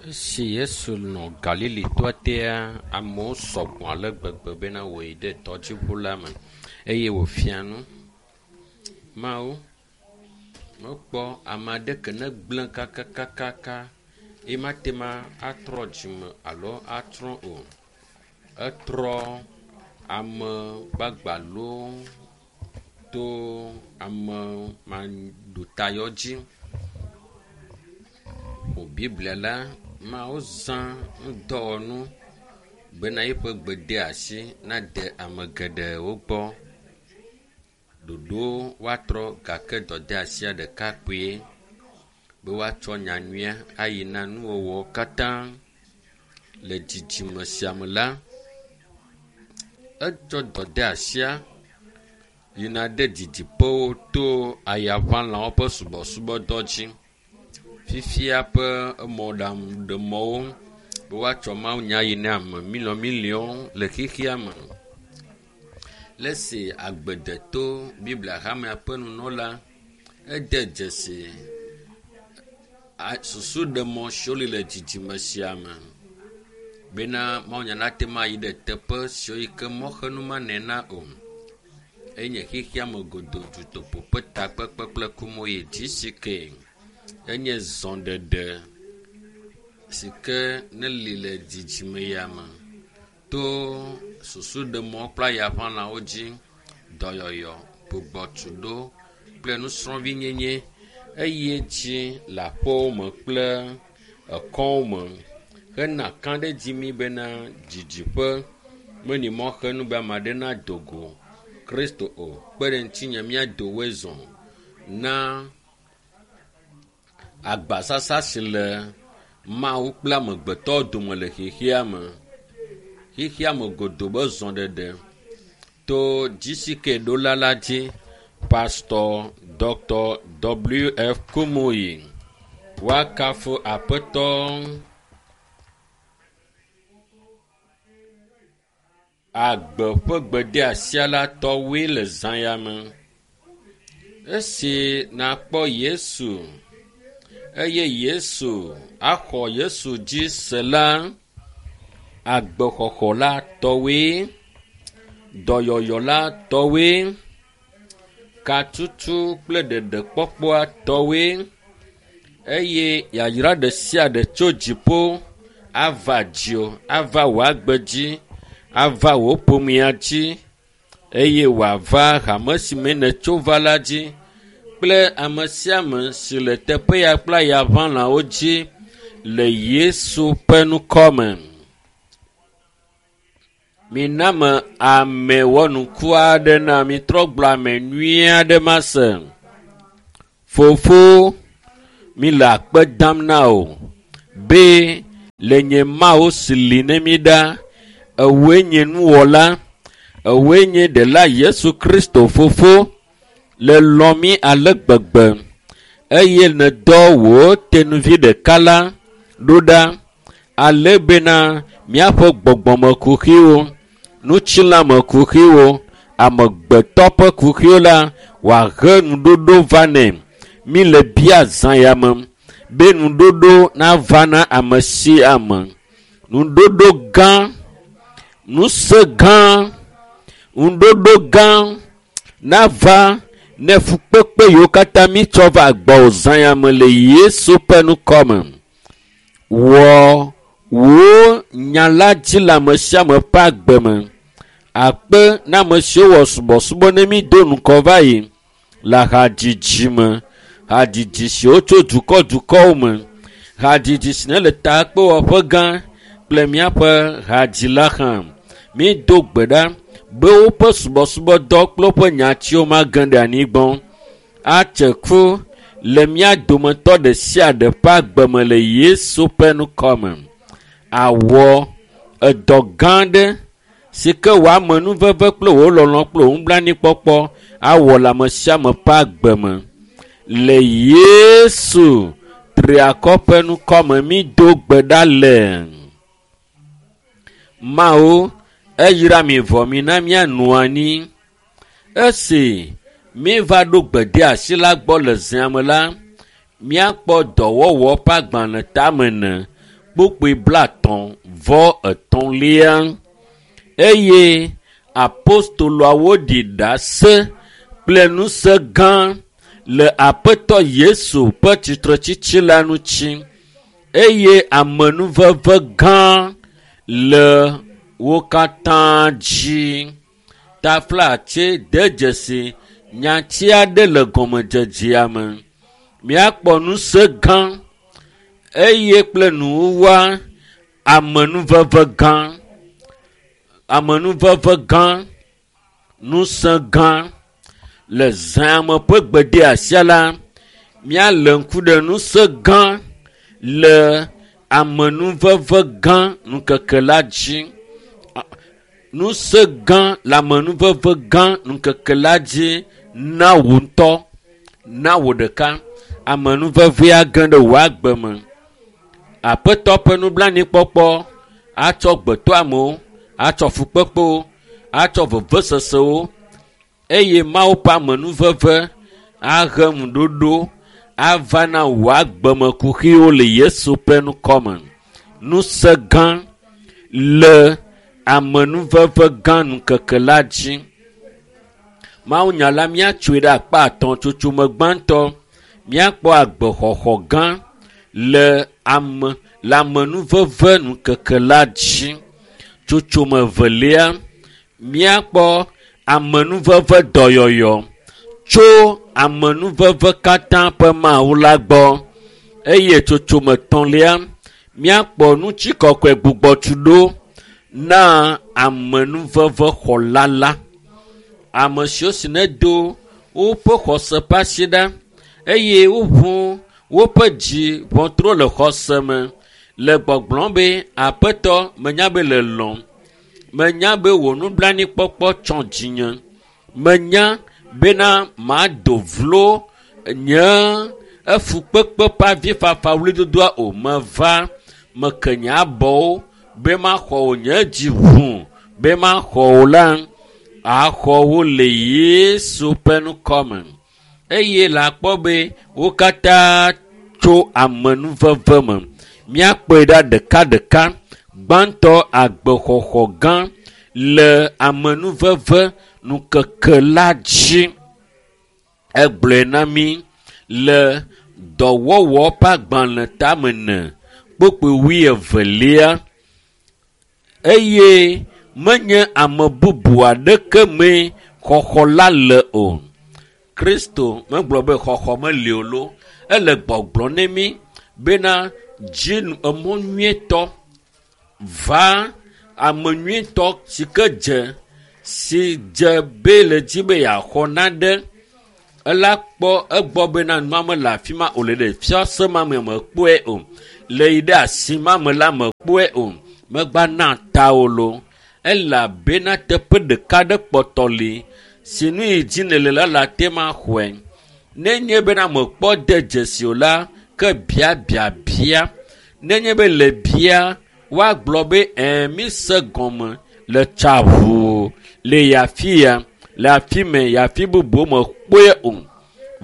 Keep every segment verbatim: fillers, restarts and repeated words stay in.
Esi Yesu nɔ Galili toa tea, amewo sɔgbɔ ale gbegbe bena wòyi ɖe tɔdziŋu la me eye wòfia nu. Mawu mekpɔ ame aɖeke ne gblẽ kakakakaka ye mate ma atrɔ dzime alo atrɔ o. Etrɔ ame gbagbalo to ame maɖotayɔ dzi. Ƒo Biblia la Mawu zã ŋdɔwɔnu bena eƒe gbedeasi nade ame geɖewo gbɔ. Ɖoɖo woatrɔ gake dɔdeasia ɖeka kpuie be woatsɔ nyanyuia ayi na nuwɔwɔ katã le dzidzime sia me la, etsɔ dɔdeasia yina ɖe didiƒewo to ayaʋalãwo ƒe subɔsubɔdɔ dzi. Fifia ƒe emɔɖaŋuɖemɔwo be woatsɔ mawunya yi na ame miliɔmiliɔwo le xexea me. Le esi agbedeto Biblia hamea ƒe nunɔla ede dzesi susuɖemɔ siwo li le dzidzime sia me bena mawunya nate ŋu ayi ɖe teƒe siwo yi ke mɔxenu manɔe na o. Enye xexea me godoo dutoƒo ƒe takpekpe kple Kumuyi GCK. Enye zɔɖeɖe si ke neli le dzidzime ya me to susuɖemɔ kple ayaʋalãwo dzi, dɔyɔyɔ, gbugbɔtuɖo kple nusrɔ̃vinyenye eye dzi le aƒewo me kple ekɔwo me hena kãɖedzi mi bena didiƒe meli mɔxenu be ame aɖe nado go Kristo o. Kpe ɖe ŋutinye míado woe zɔ na agbasasa si le Mawu kple amegbetɔ dome le xexea me. Xexea me godoo be zɔɖeɖe to GCK ɖola la dzi Pastor Dr. W F Kumuyi. Woakafu Aƒetɔ. Agbe ƒe gbedeasia la tɔwoe le zã ya me. Esi nakpɔ Yesu eye Yesu axɔ Yesu dzi se la, agbexɔxɔ la tɔwoe, dɔyɔyɔ la tɔwoe, katutu kple ɖeɖekpɔkpɔa tɔwoe eye yayra ɖe sia ɖe tso dziƒo ava dziwò, ava wò agbe dzi, ava wò ƒomea dzi eye wòava hame si me nètso va la dzi kple ame sia ame si le teƒe ya kple ayaʋalãwo dzi le Yesu ƒe ŋkɔ me. Mina me ame wɔnuku aɖe na mi trɔ gblɔ ame nyui aɖe mase. Fofo, mi le akpe dam na wò be le nye Mawu si li ne mi ɖa, ewòe nye nuwɔla, ewòe nye ɖela Yesu Kristo fofo le lɔ̃ mi ale gbegbe eye nèdɔ wò tenuvi ɖeka la ɖo ɖa ale bena míaƒe gbɔgbɔmekuxiwo, ŋutilãmekuxiwo, amegbetɔ ƒe kuxiwo la wòahe nuɖoɖo va nɛ. Mi le bia zã ya me be nuɖoɖo nava na ame sia ame. Nuɖoɖo gã, ŋusẽ gã, nuɖoɖo gã nava ne fukpekpe yiwo katã mítsɔ va gbɔwò zã ya me le Yesu ƒe ŋkɔ me. Wɔ wò nya la dzi le ame sia ame ƒe agbe me. Akpe na ame siwo wɔ subɔsubɔ ne mi do ŋkɔ va yi le hadzidzi me. Hadzidzi siwo tso dukɔ dukɔwo me. Hadzidzi si ne le takpewɔƒe gã kple míaƒe hadzila hã. Mído gbe ɖa be woƒe subɔsubɔdɔ kple woƒe nyatiwo mage ɖe anyigba o. Atse ku le mía dometɔ ɖe sia ɖe ƒe agbe me le Yesu ƒe ŋkɔ me. Awɔ edɔ gã aɖe si ke wò amenuveve kple wò lɔlɔ̃ kple wò nublanuikpɔkpɔ awɔ le ame sia ame ƒe agbe me. Le Yesu triakɔ ƒe ŋkɔ me mído gbe ɖa le. Mawu eyra mi vɔ mina míanɔ anyi. Esi míeva ɖo gbedeasi la gbɔ le zã me la, míakpɔ dɔwɔwɔ ƒe agbalẽ tame ene, kpukpui blatɔ̃ vɔ etɔ̃lia. Eye apostoloawo ɖi ɖase kple ŋusẽ gã le Aƒetɔ Yesu ƒe tsitretsitsi la ŋuti eye amenuveve gã le wo katã dzi. Taflatse de dzesi nyati aɖe le gɔmedzedzea me. Míakpɔ ŋusẽ gã eye kple nuwuwua amenuveve gã. Amenuveve gã, ŋusẽ gã le zãme ƒe gbedeasia la, míalé ŋku ɖe ŋusẽ gã le amenuveve gã ŋkeke la dzi. Ŋusẽ gã le amenuveve gã ŋkeke la dzi na wò ŋutɔ, na wò ɖeka. Amenuvevea ge ɖe wò agbe me. Aƒetɔ ƒe nublanuikpɔkpɔ atsɔ gbetɔamewo, atsɔ fukpekpewo, atsɔ vevesesewo eye Mawu ƒe amenuveve ahe ŋuɖoɖo ava na wò agbemekuxiwo le Yesu ƒe ŋkɔme. Ŋusẽ gã le amenuveve gã ŋkeke la dzi. Mawunya la míatsoe ɖe akpa atɔ̃ tsotsome gbãtɔ. Míakpɔ agbexɔxɔ gã le ame le amenuveve ŋkeke la dzi. Tsotsome evelia, míakpɔ amenuveve dɔyɔyɔ tso amenuveve katã ƒe Mawu la gbɔ eye tsotsome etɔ̃lia, míakpɔ ŋutikɔkɔe gbugbɔtuɖo na amenuvevexɔla la. Ame siwo si nedo woƒe xɔse ƒe asi ɖa eye woʋu woƒe dzi ʋɔtru le xɔse me le gbɔgblɔm be Aƒetɔ menya be le lɔ̃m, menya be wò nublanuikpɔkpɔ tsɔ dzinye, menya bena mado vlo nye efukpekpe ƒe avifafa ɣlidodoa o. Meva, meke nye abɔwo be maxɔ wò nye dzi ʋu be maxɔ wò la, axɔ wo le Yesu ƒe ŋkɔme. Eye le akpɔ be wo katã tso amenuveve me. Míakpɔe ɖa ɖekaɖeka. Gbãtɔ agbexɔxɔ gã le amenuveve ŋkeke la dzi. Egblɔe na mí le dɔwɔwɔ ƒe agbalẽ tame ene kpukpui wuievelia eye menye ame bubu aɖeke mee xɔxɔ la le o. Kristo megblɔ be xɔxɔ meli o lo. Ele gbɔgblɔ ne mí bena dzi emɔ nyuietɔ va ame nyuietɔ si ke dze si dze be le dzi be yeaxɔ nane ela kpɔ egbɔ bena nua mele afi ma o le ɖe fiase ma me mekpɔe o le yi ɖe asi ma me la mekpɔe o megba na ta o lo elabena teƒe ɖeka ɖe kpɔtɔ li si nu yi dzi nèle la le ate ma xɔe. Nenye bena mekpɔ de dzesi o la ke bia biabia. Nenye be le bia woagblɔ be ɛ̃ mise gɔme le tsa ʋuu le afi ya le afi mɛ yi afi bubu mekpɔe o.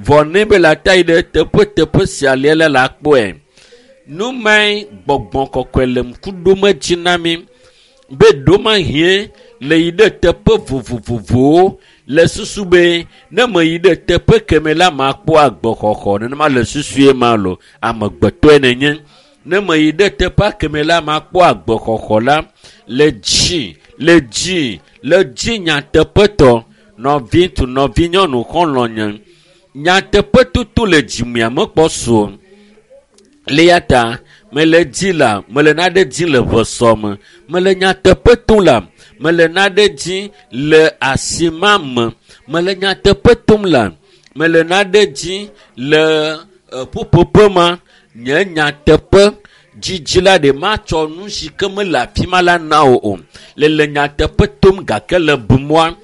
Vɔ ne be le ata yi ɖe teƒeteƒe sia lia la le akpɔe. Nu mae gbɔgbɔ kɔkɔe le ŋku ɖom edzi na mí be ɖomahie le yi ɖe teƒe vovovovowo le susu be ne meyi ɖe teƒe keme la makpɔ agbexɔxɔ nenema le susue ma lo amegbetɔe nenye. Ne meyi ɖe teƒea keme la makpɔ agbexɔxɔ la le dzi le dzi le dzi nyateƒetɔ nɔvi tu nɔvinyɔnu xɔlɔ̃nye nyateƒetoto le dzimea mekpɔ su o. Le ya ta mele dzi la mele nane dzi le ʋesɔ me mele nyateƒe tom la mele nane dzi le asi ma me mele nyateƒe tom la mele nane dzi le ƒuƒoƒe ma nye nyateƒe dzidzi la ɖe matsɔ nu si ke mele afi ma la na wò o. Le le nyateƒe tom gake le bumɔa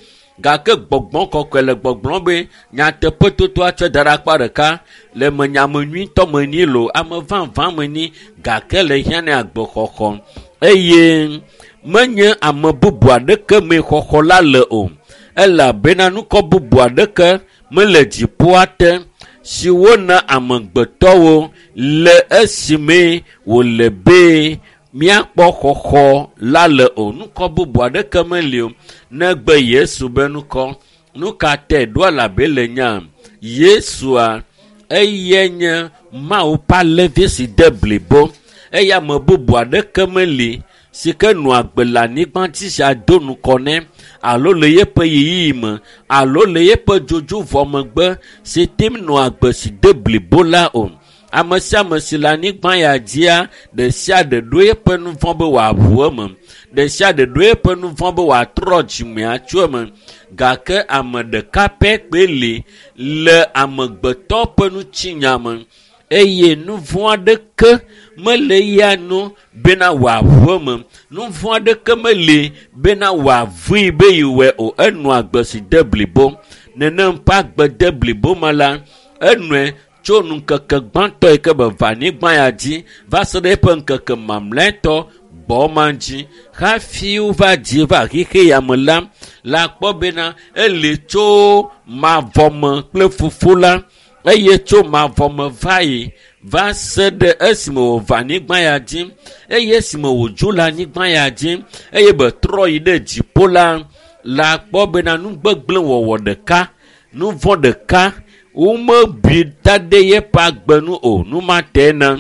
gake gbɔgbɔ kɔkɔe le gbɔgblɔm be nyateƒe toto atsɔ da ɖe akpa ɖeka le me ame nyuitɔ me nyi lo ame vavã me nyi gake le hiã ne agbexɔxɔ eye menye ame bubu aɖeke mee xɔxɔ la le o elabena nukɔ bubu aɖeke mele dziƒoa te si wona amegbetɔwo le esime wòle be míakpɔ xɔxɔ la le o. Nukɔ bubu aɖeke meli o negbe Yesu be nukɔ. Nu ka tɛ ɖo elabe le nya Yesua eye nye Mawu ƒe alẽvi si de blibo eye ame bubu aɖeke meli si ke nɔ agbe le anyigba dzi sia do nukɔ nɛ alo le yeƒe ɣeyiɣi me alo le yeƒe dzodzo vɔ megbe si tem nɔ agbe si de blibo la o. Ame sia ame si le anyigba ya dzia, ɖe sia ɖe ɖo eƒe nu vɔ̃ be wòaʋu eme. Ɖe sia ɖe ɖo eƒe nu vɔ̃ be wòatrɔ dzime atso eme. Gake ame ɖeka pɛ kpoe li le amegbetɔ ƒe ŋutinya me eye nu vɔ̃ aɖeke mele eya nu bena wòaʋu eme. Nu vɔ̃ aɖeke meli bena wòavui be yewɔe o. Enɔ agbe si de blibo. Nenem ƒe agbe de blibo ma la, enɔe tso ŋkeke gbãtɔ yi ke be va anyigba ya dzi va se ɖe eƒe ŋkeke mamlɛtɔ gbɔ ma dzi hafi wova dzi va xexe ya me la, la kpɔ bena eli tso mavɔme kple fofo la eye tso mavɔme va yi va se ɖe esime wòva anyigba ya dzi eye esime wòdzo le anyigba ya dzi eye be trɔ yi ɖe dziƒo la, la kpɔ bena nu gbegblẽ wɔwɔ ɖeka, nu vɔ̃ ɖeka womebui da ɖe yeƒe agbe nu o. Nu ma tɛ na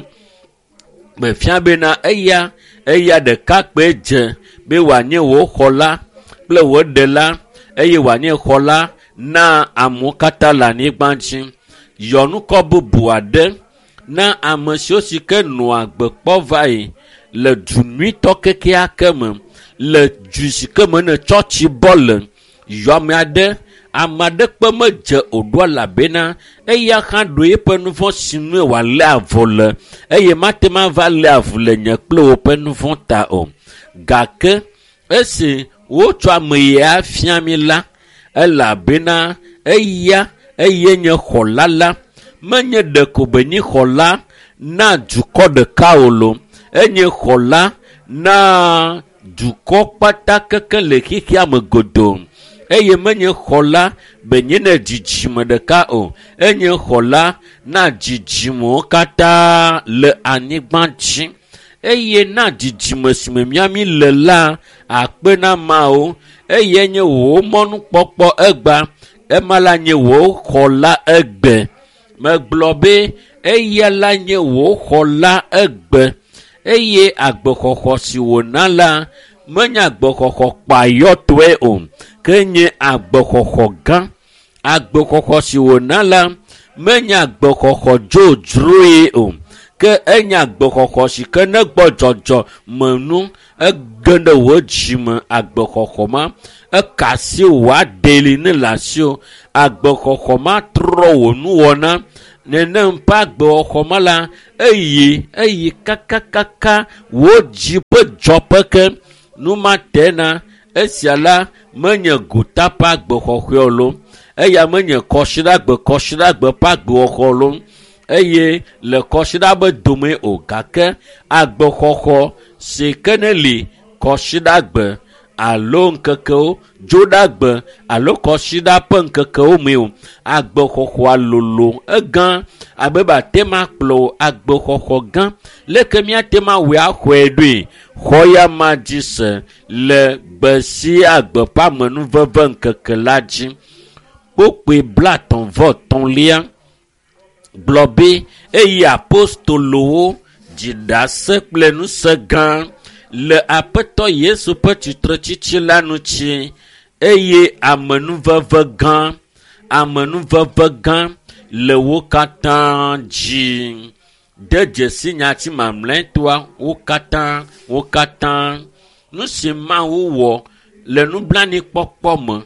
mefia bena eya eya ɖeka kpoe dze be wòanye wò xɔla kple wò ɖela eye wòanye xɔla na amewo katã le anyigba dzi. Yɔ nukɔ bubu aɖe na ame siwo si ke nɔa agbe kpɔ va yi le du nyuitɔ kekeake me, le du si ke me ne tsɔtsi bɔ le. Yɔ ame aɖe, ame aɖeke medze o ɖo elabena eya hã ɖo eƒe nu vɔ̃ si nue wòalé avu le eye mate ŋu ava lé avu le nye kple wò ƒe nu vɔ̃ ta o. Gake esi wotsɔ ame ya fia mi la, elabena eya eye nye xɔla la, menye ɖeko be nye xɔla na dukɔ ɖeka o lo, enye xɔla na dukɔ kpata keke le xexea me godoo. Eye menye xɔla be nye ne dzidzime ɖeka o, enye xɔla na dzidzimewo katã le anyigba dzi. Eye na dzidzime si me míami le la, akpe na Mawu. Eye nye wò mɔnukpɔkpɔ egba, ema la nye wò xɔla egbe. Megblɔ be eya la nye wò xɔla egbe. Eye agbexɔxɔ si wòna la, menye agbexɔxɔ kpayɔtɔe o, ke nye agbexɔxɔ gã. Agbexɔxɔ si wòna la, menye agbexɔxɔ dzodzroe o, ke enye agbexɔxɔ si ke negbɔ dzɔdzɔ me nu, ege ɖe wò dzime agbexɔxɔ ma, eka asi wò aɖeli ne le asiwò. Agbexɔxɔ ma trɔ wò nuwɔna. Nenem ƒe agbexɔxɔ ma la, eyi, eyi kakakaka wò dzi ƒe dzɔƒe ke. Nu ma tɛ na esia la menye gota ƒe agbexɔxɔe o lo. Eya menye kɔsiɖagbe kɔsiɖagbe ƒe agbexɔxɔ o lo. Eye le kɔsiɖa be dome o, gake agbexɔxɔ si ke ne li kɔsiɖagbe alo ŋkekewo, dzoɖagbe alo kɔsiɖa ƒe ŋkekewo me o. Agbexɔxɔa lolo egã abe be ate ŋu akplɔ wò agbexɔxɔ gã. Leke míate ŋu awɔe axɔe ɖoe? Xɔ ya ma dzi se le gbe sia gbe ƒe amenuveve ŋkeke la dzi. Kpukpui blaetɔ̃ vɔ etɔ̃lia gblɔ be eye apostolowo dzi ɖase kple ŋusẽ gã le Aƒetɔ Yesu ƒe tsitretsitsi la ŋuti eye amenuveve gã, amenuveve gã le wo katã dzi. De dzesi nyati mamlɛtɔa, wo katã, wo katã. Nu si Mawu wɔ le nublanuikpɔkpɔ me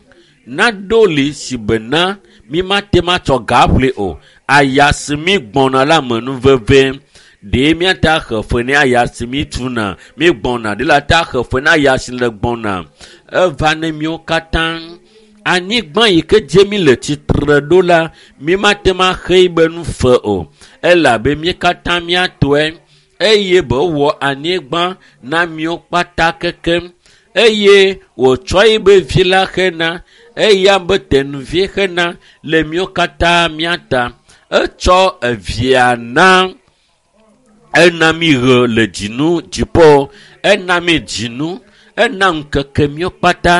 naɖo li si bena mi mate ŋu atsɔ ga aƒle o. Aya si mi gbɔna la amenuveve. Ɖe míate axe fe ne aya si mi tuna, mi gbɔna. Ɖe la te axe fe ne aya si le gbɔna. Eva ne míwo katã. Anyigba yi ke dze mi le tsitre ɖo la, mi mate ŋu axe yi be nu fe o. Elabe mí katã míatɔe eye be wɔ anyigba na míwo kpata kekem. Eye wòtsɔ yi be vi la xena, eya be tenuvi xena le míwo katã míata. Etsɔ evia na ena mi ɣe le dzinu dziƒo, ena mi dzinu, ena ŋkeke míwo kpata,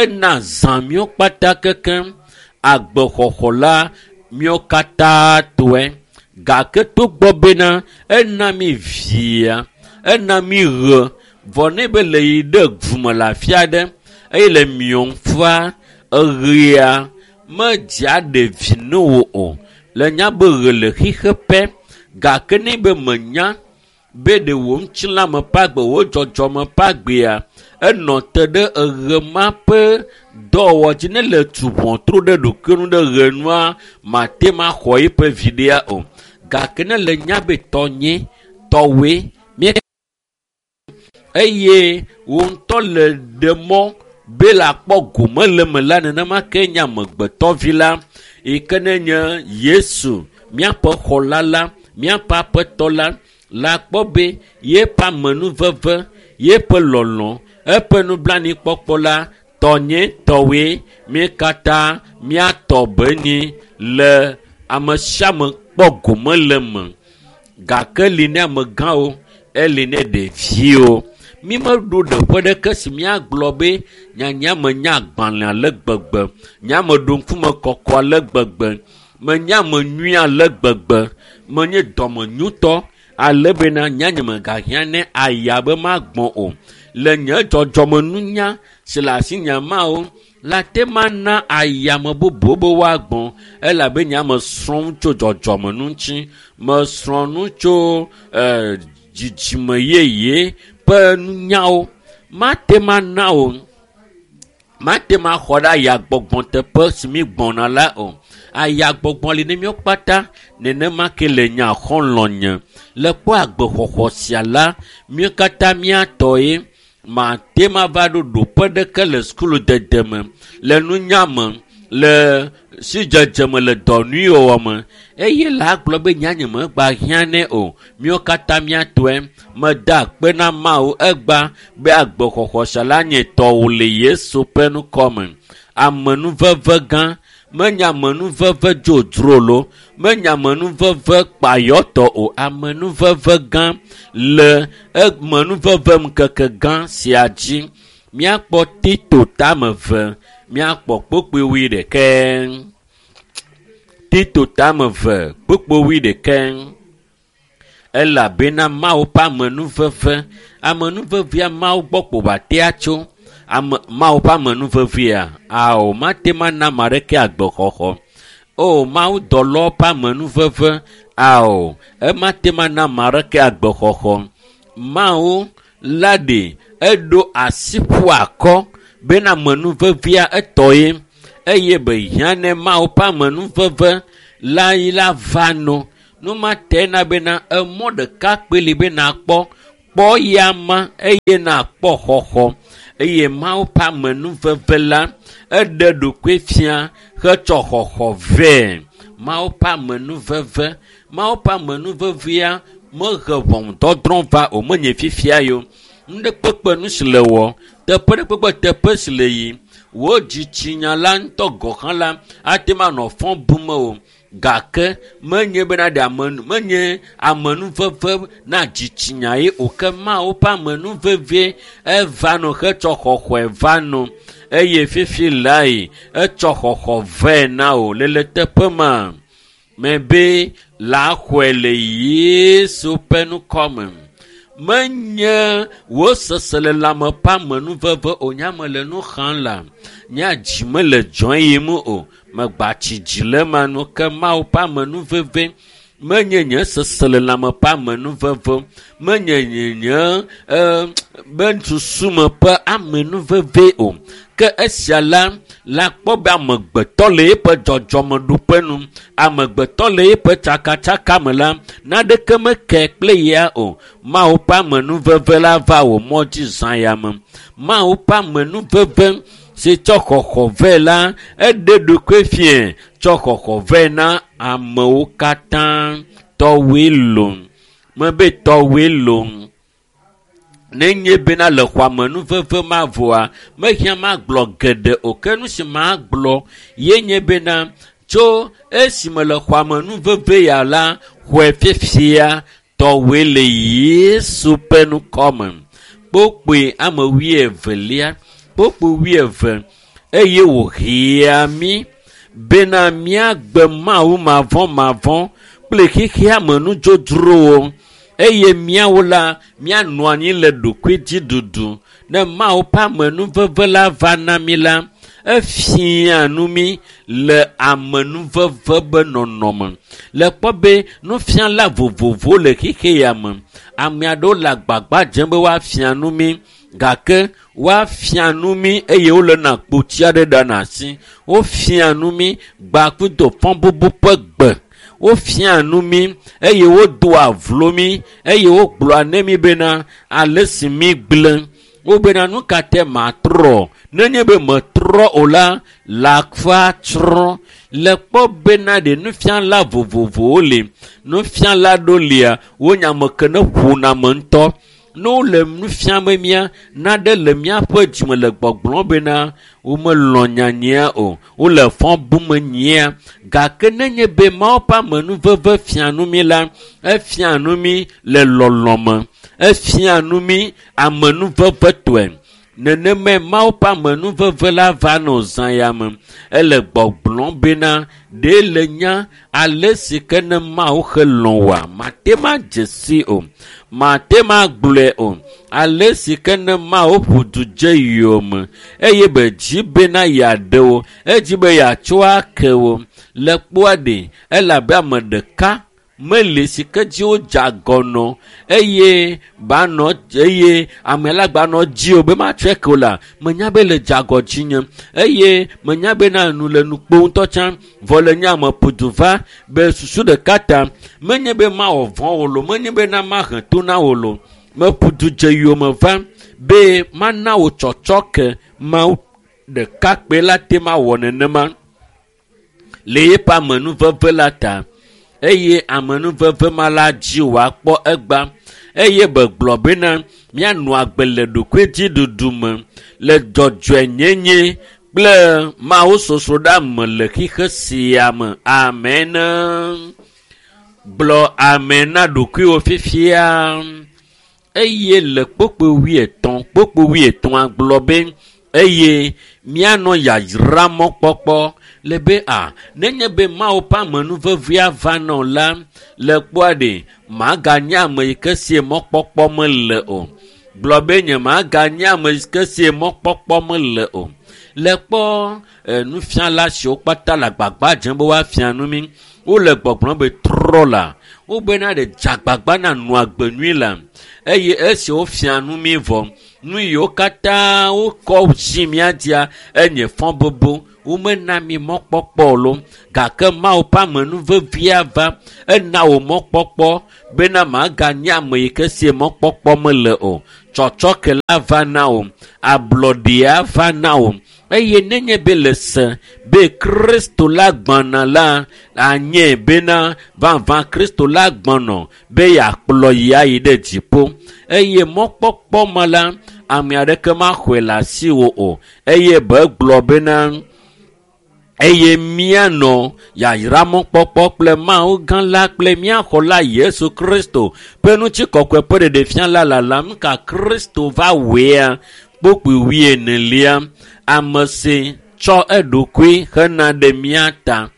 ena zã míwo kpata kekeŋ. Agbexɔxɔ la míwo katã tɔe. Gake togbɔ bena ena mi via, ena mi ɣe, vɔ ne be le yi ɖe gume le afi aɖe eye le miɔm fua, eɣea medzea ɖe vi na wò o. Le nya be ɣe le xixe pɛ, gake ne be menya be ɖe wò ŋutilãme ƒe agbe, wò dzɔdzɔme ƒe agbea, enɔ te ɖe eɣe ma ƒe dɔwɔwɔ dzi. Ne le tu ʋɔtru ɖe ɖokuiwo nu ɖe ɣe nua, mate ma xɔ eƒe viɖea o. Gake ne le nya be tɔnye, tɔwoe, mía eye wò ŋutɔ le ɖe mɔ be le akpɔ gome le eme la, nenema ke nye amegbetɔvi la yi ke ne nye Yesu, míaƒe xɔla la, míaƒe aƒetɔ la, la kpɔ be yeƒe amenuveve, yeƒe lɔlɔ̃, eƒe nublanuikpɔkpɔ la, tɔnye tɔwoe, mí katã míatɔ be nyi le ame sia ame kpɔ gome le eme. Gake li ne amegãwo, eli ne ɖeviwo. Mi meɖo ɖeƒe ɖeke si míagblɔ be nyanya menya agbalẽ ale gbegbe, nya meɖo ŋkume kɔkɔ ale gbegbe, menya ame nyui ale gbegbe, menye dɔmenyutɔ ale bena nya nye megahiã ne aya be magbɔ̃ o. Le nye dzɔdzɔmenunya si le asinye mawo la te mana ayame bubu be woagbɔ̃ elabe nya mesrɔ̃ nu tso dzɔdzɔmenu ŋuti, mesrɔ̃ nu tso eh, dzidzime yeye ƒe nunyawo. Mate mana o, mate ma xɔ ɖe ayagbɔgbɔ teƒe si mi gbɔna la o. Ayagbɔgbɔ li ne míawo kpata, nenema ke le nye xɔlɔ̃nye. Le kpɔ agbexɔxɔ sia la, míawo katã míatɔ ye. Mate ma va ɖo ɖoƒe ɖeke le sukulu dede me, le nunya me, le sidzedze me, le dɔ nyui wɔwɔ me. Eye la gblɔ be nya nye megba hiã nɛ o. Míawo katã míatɔe. Meda akpe na Mawu egba be agbexɔxɔ sia la nye tɔwò le Yesu ƒe ŋkɔ me. Amenuveve gã, menye amenuveve dzodzro lo, menye amenuveve kpayɔtɔ o. Amenuveve gã le amenuveve ŋkeke gã sia dzi. Míakpɔ Tito tame eve, míakpɔ kpukpui wuiɖekɛ. Tito tame eve, kpukpui wuiɖekɛ. Elabena Mawu ƒe amenuveve, amenuvevea Mawu gbɔ kpo wòatea tso. Ame, Mawu ƒe amenuvevea, ao, mate ma na ame aɖeke agbexɔxɔ. O, Mawu dɔlɔwo ƒe amenuveve, ao, emate ma na ame aɖeke agbexɔxɔ. Mawu la ɖe eɖo asi ƒu akɔ bena amenuvevea etɔ ye eye be hiã ne Mawu ƒe amenuveve la yi la va no. Nu ma te na bena emɔ ɖeka kpe li be nakpɔ, kpɔ ya ma eye nakpɔ xɔxɔ. Eye Mawu ƒe amenuveve la, eɖe ɖokui fia hetsɔ xɔxɔ vɛ. Mawu ƒe amenuveve, Mawu ƒe amenuvevea mehe ʋɔnudɔdrɔ̃ va o, menye fifia yo. Nu ɖe kpekpe nu si le wɔ, teƒe ɖe kpekpe teƒe si le yi, wò dzitsinya la ŋutɔ gɔ̃ hã la ate ŋu anɔ fɔ bum o. Gake menye bena ɖe ame, menye amenuveve na dzitsinya ye o, ke Mawu ƒe amenuveve eva no hetsɔ xɔxɔe va no. Eye fifi lae etsɔ xɔxɔ vɛ na wò le le teƒe ma. Mebe la xɔe le Yesu ƒe ŋkɔ me. Menye wò seselelãme ƒe amenuveve o, nye ame le nu xam la, nye dzi mele dzɔ yim o. Megba tsi dzi le ema nu ke Mawu ƒe amenuveve menye nye seselelãme ƒe amenuveve, menye nye, nye, eh, be susume ƒe amenuveve o. Ke esia la, la kpɔ be amegbetɔ le eƒe dzɔdzɔmeɖoƒe nu, amegbetɔ le eƒe tsakatsaka me la, naɖeke meke kple ya o. Mawu ƒe amenuveve la va wò mɔ dzi zã ya me. Mawu ƒe amenuveve si tsɔ xɔxɔ vɛ la, eɖe ɖokui fia tsɔ xɔxɔ vɛ na amewo katã. Tɔwoe lo, mebe tɔwoe lo. Nenye bena le xɔ amenuveve ma vɔa, mehiã magblɔ geɖe o. Ke nu si magblɔ ye nye bena Tso esime le xɔame nu veve ya la xɔe fifia tɔwoe le Yesu ƒe ŋkɔme. Kpokpoe ame wuievelia, kpokpoe wuieve eye wòhea mí bena míagbe Mawu mavɔmavɔ kple xexea me nudzodzrowo eye míawo la míanɔ anyi le ɖokuidziɖuɖu. Ne Mawu ƒe amenuveve la va na mí la, efia nu mí le amenuveve be nɔnɔme. Le kpɔ be nufiala vovovowo le xexe ya me. Ame aɖewo le agbagba dzem be woafia nu mí gake woafia nu mí eye wole na kpotsi aɖe ɖa asi. Wofia nu mí gbakudo fɔbubu ƒe gbe. Wofia nu mí eye wodoa vlo mí eye wogblɔa ne mí bena ale si mí gblẽ. Wobena nu ka te matrɔ? Nenye be metrɔ o la, lãkfa tsrɔ̃. Le kpɔ bena ɖe nufiala vovovowo li. Nufiala ɖewo lia, wonye ame ke ne ƒona ame ŋutɔ. Ne wole nu fiam mía, naɖe le míaƒe dzime le gbɔgblɔm bena womelɔ̃ nyanyuia o, wole fɔ bum nyuia. Gake nenye be Mawu ƒe amenuveve fia nu mí la, efia nu mí le lɔlɔ̃ me, efia nu mí amenuvevetɔe. Nenemae Mawu ƒe amenuveve la va nɔ zã ya me. Ele gbɔgblɔm bena ɖe le nya ale si ke ne Mawu helɔ̃ woa, mate ma dze si o, mate ma gblɔe o. Ale si ke ne Mawu ƒo du dze yome eye be dzi bena yeaɖe wo, edzi be yeatsɔ ake wo. Le kpɔa ɖe, elabe ame ɖeka meli si ke dzi wodze agɔ nɔ eye banɔ eye ame la gbanɔ dzi o be matsɔe ke o la, menya be le dze agɔ dzinye eye menya be na nu le nu kpo ŋutɔ tsã vɔ le nye ame ƒo du va be susu ɖeka ta menye be mawɔ vɔ̃ wo lo, menye be na mahe to na wo lo. Meƒo du dze yome va be mana wò tsɔtsɔ ke Mawu ɖeka kpe la te mawɔ nenema le yeƒe amenuveve la ta. Eye amenuveve ma la dzi wòakpɔ egba eye be gblɔ bena míanɔ agbe le ɖokuidziɖuɖu me le dzɔdzɔenyenye kple Mawu sosroɖa me le xexe sia me. Amen. Gblɔ amen na ɖokuiwò fifia. Eye le kpokpo wuietɔ̃, kpokpo wuietɔ̃a gblɔ be eye míanɔ yayra mɔkpɔkpɔ le be a nenye be Mawu ƒe amenuvevea va nɔ la le kpɔa ɖe maganye ame yi ke sie mɔkpɔkpɔ mele o. Gblɔ be nye maganye ame yi ke sie mɔkpɔkpɔ mele o. Le kpɔ nufiala siwo kpata le agbagba dzem be woafia nu mí, wole gbɔgblɔm be trɔ la, wobena ɖe dze agbagba na nɔ agbe nyui la eye esi wofia nu mí vɔ, nu yiwo katã wokɔ zi mía dzia enye fɔbubu. Womena mí mɔkpɔkpɔ lo gake Mawu ƒe amenuvevea va ena wò mɔkpɔkpɔ bena maganye ame yi ke sie mɔkpɔkpɔ mele o. Tsɔtsɔke la va na wò, ablɔɖea va na wò eye nenye be le se be Kristo la gbɔna la anye bena vavã Kristo la gbɔnɔ be yeakplɔ yi ayi ɖe dziƒo eye mɔkpɔkpɔ ma la ame aɖeke maxɔe le asiwò o eye be gblɔ bena eye míanɔ yayra mɔkpɔkpɔ kple Mawu gã la kple mía xɔla Yesu Kristo ƒe ŋutikɔkɔe ƒe ɖeɖefia la lalam ka Kristo va wɔea kpokpoe wuienelia ame si tsɔ eɖokui hena ɖe mía ta.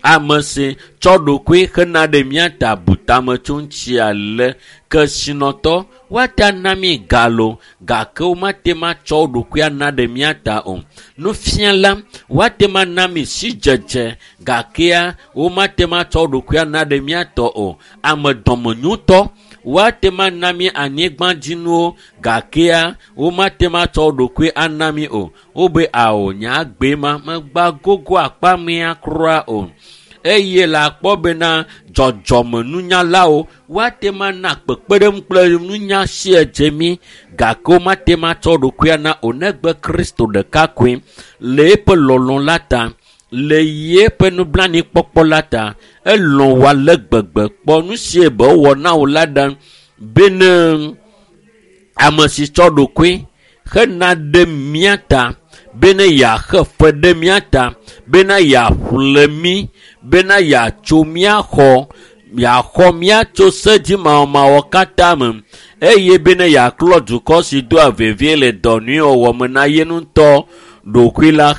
Ame si tsɔ ɖokui hena ɖe mía ta bu tame tso ŋuti ale kesinɔtɔ woate ana mí ga lo gake womate matsɔ wo ɖokui ana ɖe mía ta o. Nufiala woate ma na mí sidzedze gakea womate matsɔ wo ɖokui ana ɖe mía tɔ o. Ame dɔmenyotɔ woate ma na mí anyigbadzinuwo gakea womate matsɔ wo ɖokui ana mí o. Wobe ao nye agbe ma megba gogo akpa mea kura o. Eye le akpɔ bena dzɔdzɔmenunyalawo woate ma na kpekpeɖeŋu kple nunya si edze mí gake womate matsɔ ɖokui ana o negbe Kristo ɖeka koe le eƒe lɔlɔ̃ la ta, le yeƒe nublanuikpɔkpɔ la ta. Elɔ̃ wò ale gbegbe kpɔ nu si be wòwɔ na wò la ɖa bene ame si tsɔ ɖokui hena ɖe mía ta bena yeaxe fe ɖe mía ta, bena yeaƒle mí, bena yeatso mía xɔ, yeaxɔ mía tso sedzimawɔmawɔ katã me, eye bena yeaklɔ dukɔ si doa vevie le dɔ nyui wɔwɔ me na ye ŋutɔ ɖokui la.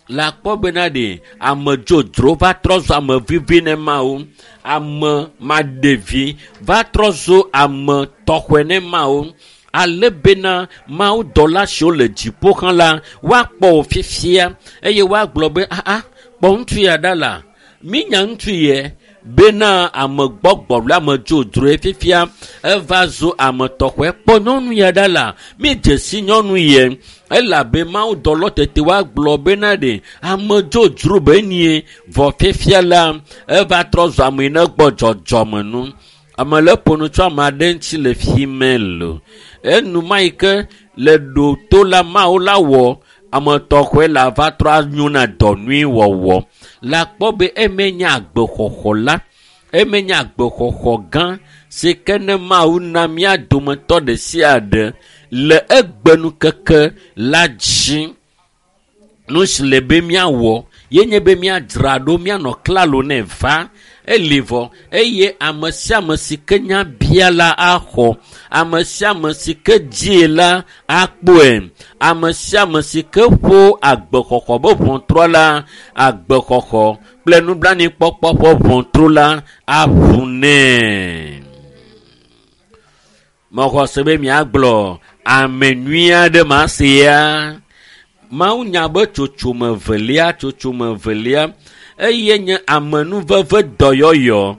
La kpɔ bena ɖe ame dzodzro va trɔ zu ame vivi ne Mawu, ame maɖevi va trɔ zu ame tɔxɔe ne Mawu. Ale bena Mawu dɔla siwo le dziƒo hã la, woakpɔ wò fifia eye woagblɔ be aa kpɔ ŋutsu ya ɖa la, mínya ŋutsu yɛ bena ame gbɔgbɔ le ame dzodzroe fifia eva zu ame tɔxɔe. Kpɔ nyɔnu ya ɖa la, mídze si nyɔnu yɛ elabe Mawu dɔlɔ tete woagblɔ bena ɖe ame dzodzro be nie vɔ fifia la eva trɔ zu ame yi ne gbɔ dzɔdzɔme nu. Ame le ƒo nu tso ame aɖe ŋuti le fi me lo. Enuma yi ke le ɖo to la Mawu la wɔ ame tɔxɔe la va trɔ anyo na dɔ nyui wɔwɔ. La kpɔ be eme nye agbexɔxɔ la, eme nye agbexɔxɔ gã si ke ne Mawu na mía dometɔ ɖe sia ɖe le egbenukeke la dzi. Nu si le be míawɔ ye nye be míadzra ɖo, míanɔ klalo ne va eli vɔ eye ame sia ame si ke nya bia la axɔ, ame sia ame si ke die la akpɔe, ame sia ame si ke ƒo agbexɔxɔ be ʋɔtrɔ la, agbexɔxɔ kple nublanuikpɔkpɔ ƒe ʋɔtru la aʋu nɛ. Mexɔ se be miagblɔ ame nyui aɖe ma sia. Mawu nya be tsotsome velia, tsotsome velia eye nye amenuveve dɔyɔyɔ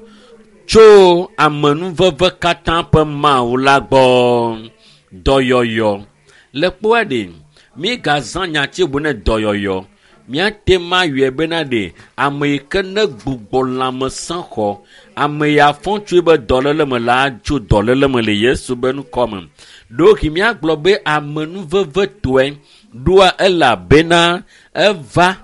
tso amenuveve katã ƒe Mawu la gbɔ. Dɔyɔyɔ. Le kpɔa ɖe, mígazã nyati bu ne dɔyɔyɔ. Míate ma yɔe bena ɖe ame yi ke ne gbugbɔ lãmesẽ xɔ, ame ya fɔ tso be dɔléle me la tso dɔléle me le Yesu be ŋkɔ me. Ɖewohĩ míagblɔ be amenuveve tɔe ɖoa elabena eva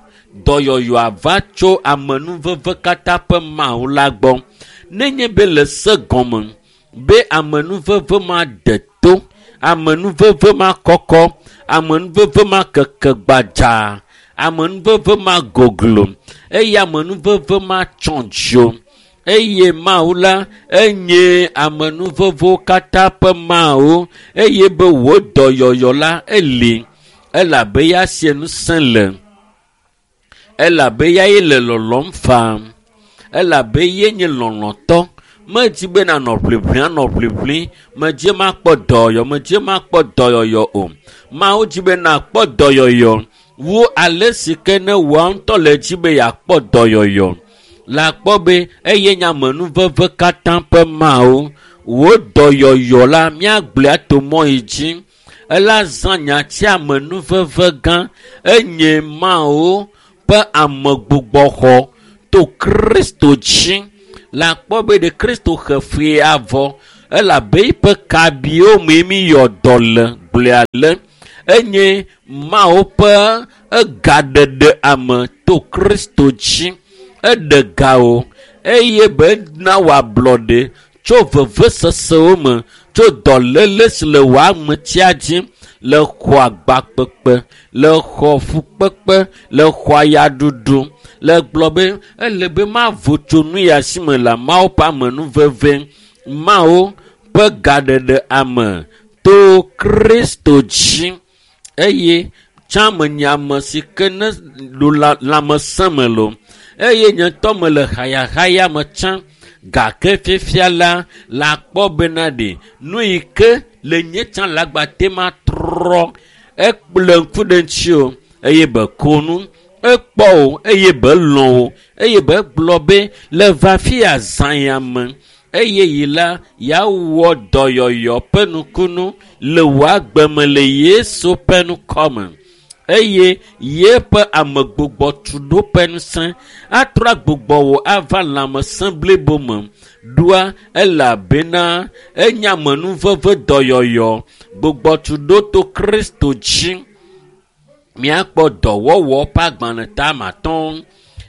dɔyɔyɔa va tso amenuveve katã ƒe Mawu la gbɔ. Nenye be le se gɔme be amenuveve ma de to, amenuveve ma kɔkɔ, amenuveve ma keke gbadzaa, amenuveve ma goglo eye amenuveve ma tsɔ dzo eye Mawu la enye amenuvevewo katã ƒe Mawu eye be wò dɔyɔyɔ la eli elabe ya sie ŋusẽ le, elabe ya ye le lɔlɔm faa, elabe ye nye lɔlɔ̃tɔ. Medzi be nanɔ ʋliʋli anɔ ʋliʋli, medzi makpɔ dɔyɔyɔ, medzi makpɔ dɔyɔyɔ o. Mawu dzi be nakpɔ dɔyɔyɔ wu ale si ke ne wòa ŋutɔ le dzi be yeakpɔ dɔyɔyɔ. La kpɔ be eye nye amenuveve katã ƒe Mawu. Wò dɔyɔyɔ la míagblɔe ato mɔ yi dzi. Ela zã nyati amenuveve gã enye Mawu ƒe amegbugbɔxɔ to Kristo dzi. La kpɔ be ɖe Kristo xe fee avɔ elabe eƒe kabiwo mee míyɔ dɔ le gblɔe ale. Enye Mawu ƒe egaɖeɖe ame to Kristo dzi. Eɖe ga o eye be na wòablɔɖe tso vevesesewo me, tso dɔléle si le wò ametia dzi, le xɔ agbakpekpe, le xɔ fukpekpe, le xɔ ayaɖuɖu, le gblɔ be ele be mavo tso nu ya si me le Mawu ƒe amenuveve, Mawu ƒe gaɖeɖe ame to Kristo dzi. Eye tsã menye ame si ke ne ɖo lãmesẽ me lo eye nye ŋutɔ mele hayahaya me tsã gake fifia la la kpɔ bena ɖe nu yi ke le nye tsã le agbate ma trɔ ekple ŋku ɖe ŋuti o eye be ko nu ekpɔ o eye be lɔ̃ o eye be gblɔ be le va fi ya zã ya me eye yi la yeawɔ dɔyɔyɔ ƒe nukunu le wò agbe me le Yesu ƒe ŋkɔ me. Eye yeƒe amegbugbɔtuɖo ƒe ŋusẽ atrɔ agbugbɔ wò ava lãmesẽ blibo me ɖoa elabena enye amenuveve dɔyɔyɔ gbugbɔtuɖo to Kristo dzi. Míakpɔ dɔwɔwɔ ƒe agbalẽ tame atɔ̃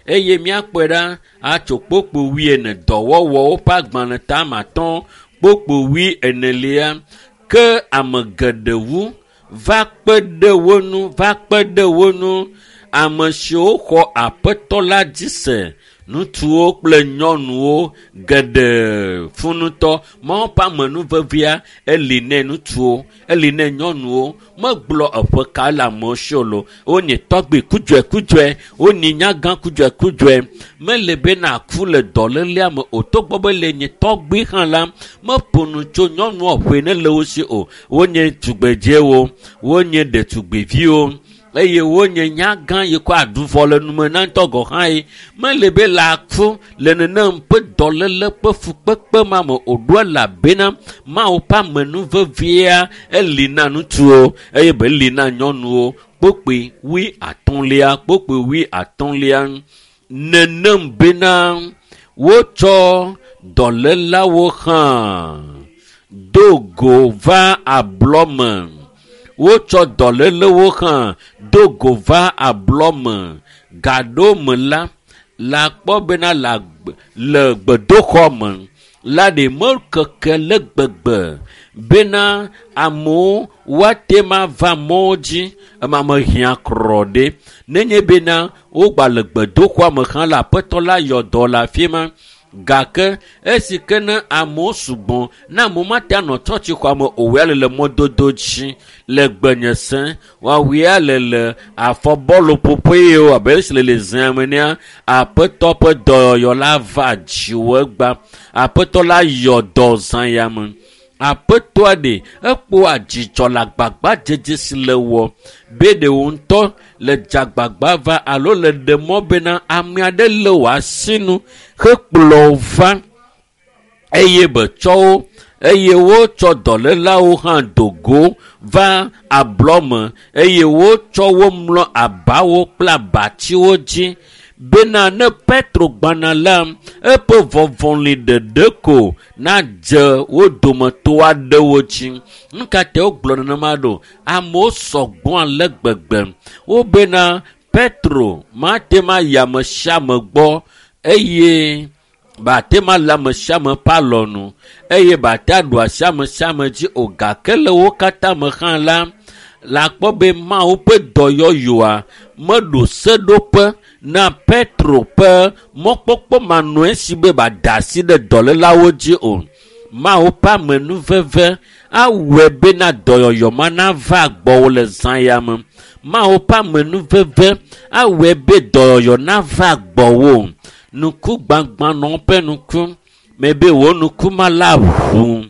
eye míakpɔe ɖa atso kpokpo wuiene dɔwɔwɔwo ƒe agbalẽ tame atɔ̃ kpokpo wuienelia ke ame geɖe wu Va kpe ɖe wo ŋu, va kpe ɖe wo ŋu. Ame siwo xɔ aƒetɔ la dzi se, ŋutsuwo kple nyɔnuwo geɖe funutɔ. Mawu ƒe amenuvevea eli ne ŋutsuwo, eli ne nyɔnuwo. Megblɔ eƒe ka le amewo si o lo. Wonye tɔgbi kudzɔe wonye nyagã kudzɔe. Mele be nàku le dɔlélea me o. Togbɔ be le nye tɔgbi hã la, meƒo nu tso nyɔnua ƒoe ne le wo si o. Wonye tugbedzewo, wonye ɖetugbiviwo eye wonye nyagã yi kɔ aɖu vɔ le nume na ŋutɔ gɔ hã ye. Mele be le aku le nenem ƒe dɔléle ƒe fukpekpe ma me o ɖo elabena Mawu ƒe amenuvevea eli na ŋutsuwo eye be eli na nyɔnuwo. Kpokpoe wui atɔ̃lia, kpokpoe wui atɔ̃lia. Nenem bena wotsɔ dɔlélawo hã do go va ablɔ me. Wotsɔ dɔlélewo hã do go va ablɔ me. Gaɖo me la, la kpɔ bena le le gbedoxɔ me la ɖe mekeke le gbegbe bena amewo woate ma va mɔwo dzi ema mehiã krɔ ɖe. Nenye bena wogba le gbedoxɔa me hã la, aƒetɔ la yɔ dɔ le afi ma. Gake esi ke ne amewo sugbɔ, ne amewo mate anɔ tsɔtsixɔa me o, woya le le mɔdodo dzi le gbenye sẽ, woawoea le le afɔbɔluƒoƒe yiwo abe esi le le zea me nea, aƒetɔ ƒe dɔyɔyɔ la va dziwò egbea. Aƒetɔ la yɔ dɔ zã ya me. Aƒetɔa ɖe ekpɔa dzidzɔ le agbagbadzedze si le wɔ be ɖe wò ŋutɔ le dzagbagba va alo le ɖe mɔ bena ame aɖe lé wò asinu hekplɔ wò va eye be tsɔ wo eye wotsɔ dɔlélawo hã do go va ablɔ me eye wotsɔ wo mlɔ abawo kple abatiwo dzi bena ne Petro gbana la, eƒe vɔvɔli ɖeɖe ko nadze wo dometɔ aɖewo dzi. Nu ka ta wogblɔ nenema ɖo? Amewo sɔgbɔ ale gbegbe. Wobena Petro mate ma yi ame sia ame gbɔ eye bate ma le ame sia ame ƒe alɔnu eye bate aɖu asi ame sia ame dzi o. Gake le wo katã me hã la, la kpɔ be Mawu ƒe dɔyɔyɔa meɖo seɖoƒe na Petro ƒe mɔkpɔkpɔ manɔe si be bada asi ɖe dɔlélawo dzi o. Mawu ƒe amenuveve awɔe bena dɔyɔyɔ ma nava gbɔwò le zã ya me. Mawu ƒe amenuveve awɔe be dɔyɔyɔ nava gbɔwò. Nuku gbagbãnɔ ƒe nuku mebe wò nuku ma la ʋu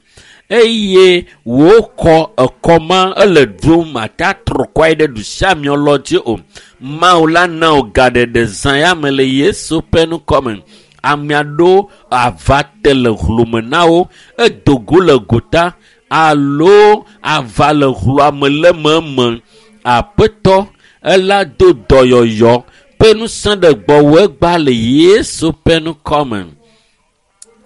eye wò kɔ ekɔ ma ele ɖom mate atrɔ kɔe ɖe ɖusiamiɔ lɔ dzi o. Mawu la na wò gaɖeɖe zã ya me le Yesu ƒe ŋkɔ me. Ame aɖewo ava te le hlome na wo, edo go le gota alo ava le hloa me le meme. Aƒetɔ ela do dɔyɔyɔ ƒe ŋusẽ ɖe gbɔwò egbea le Yesu ƒe ŋkɔ me.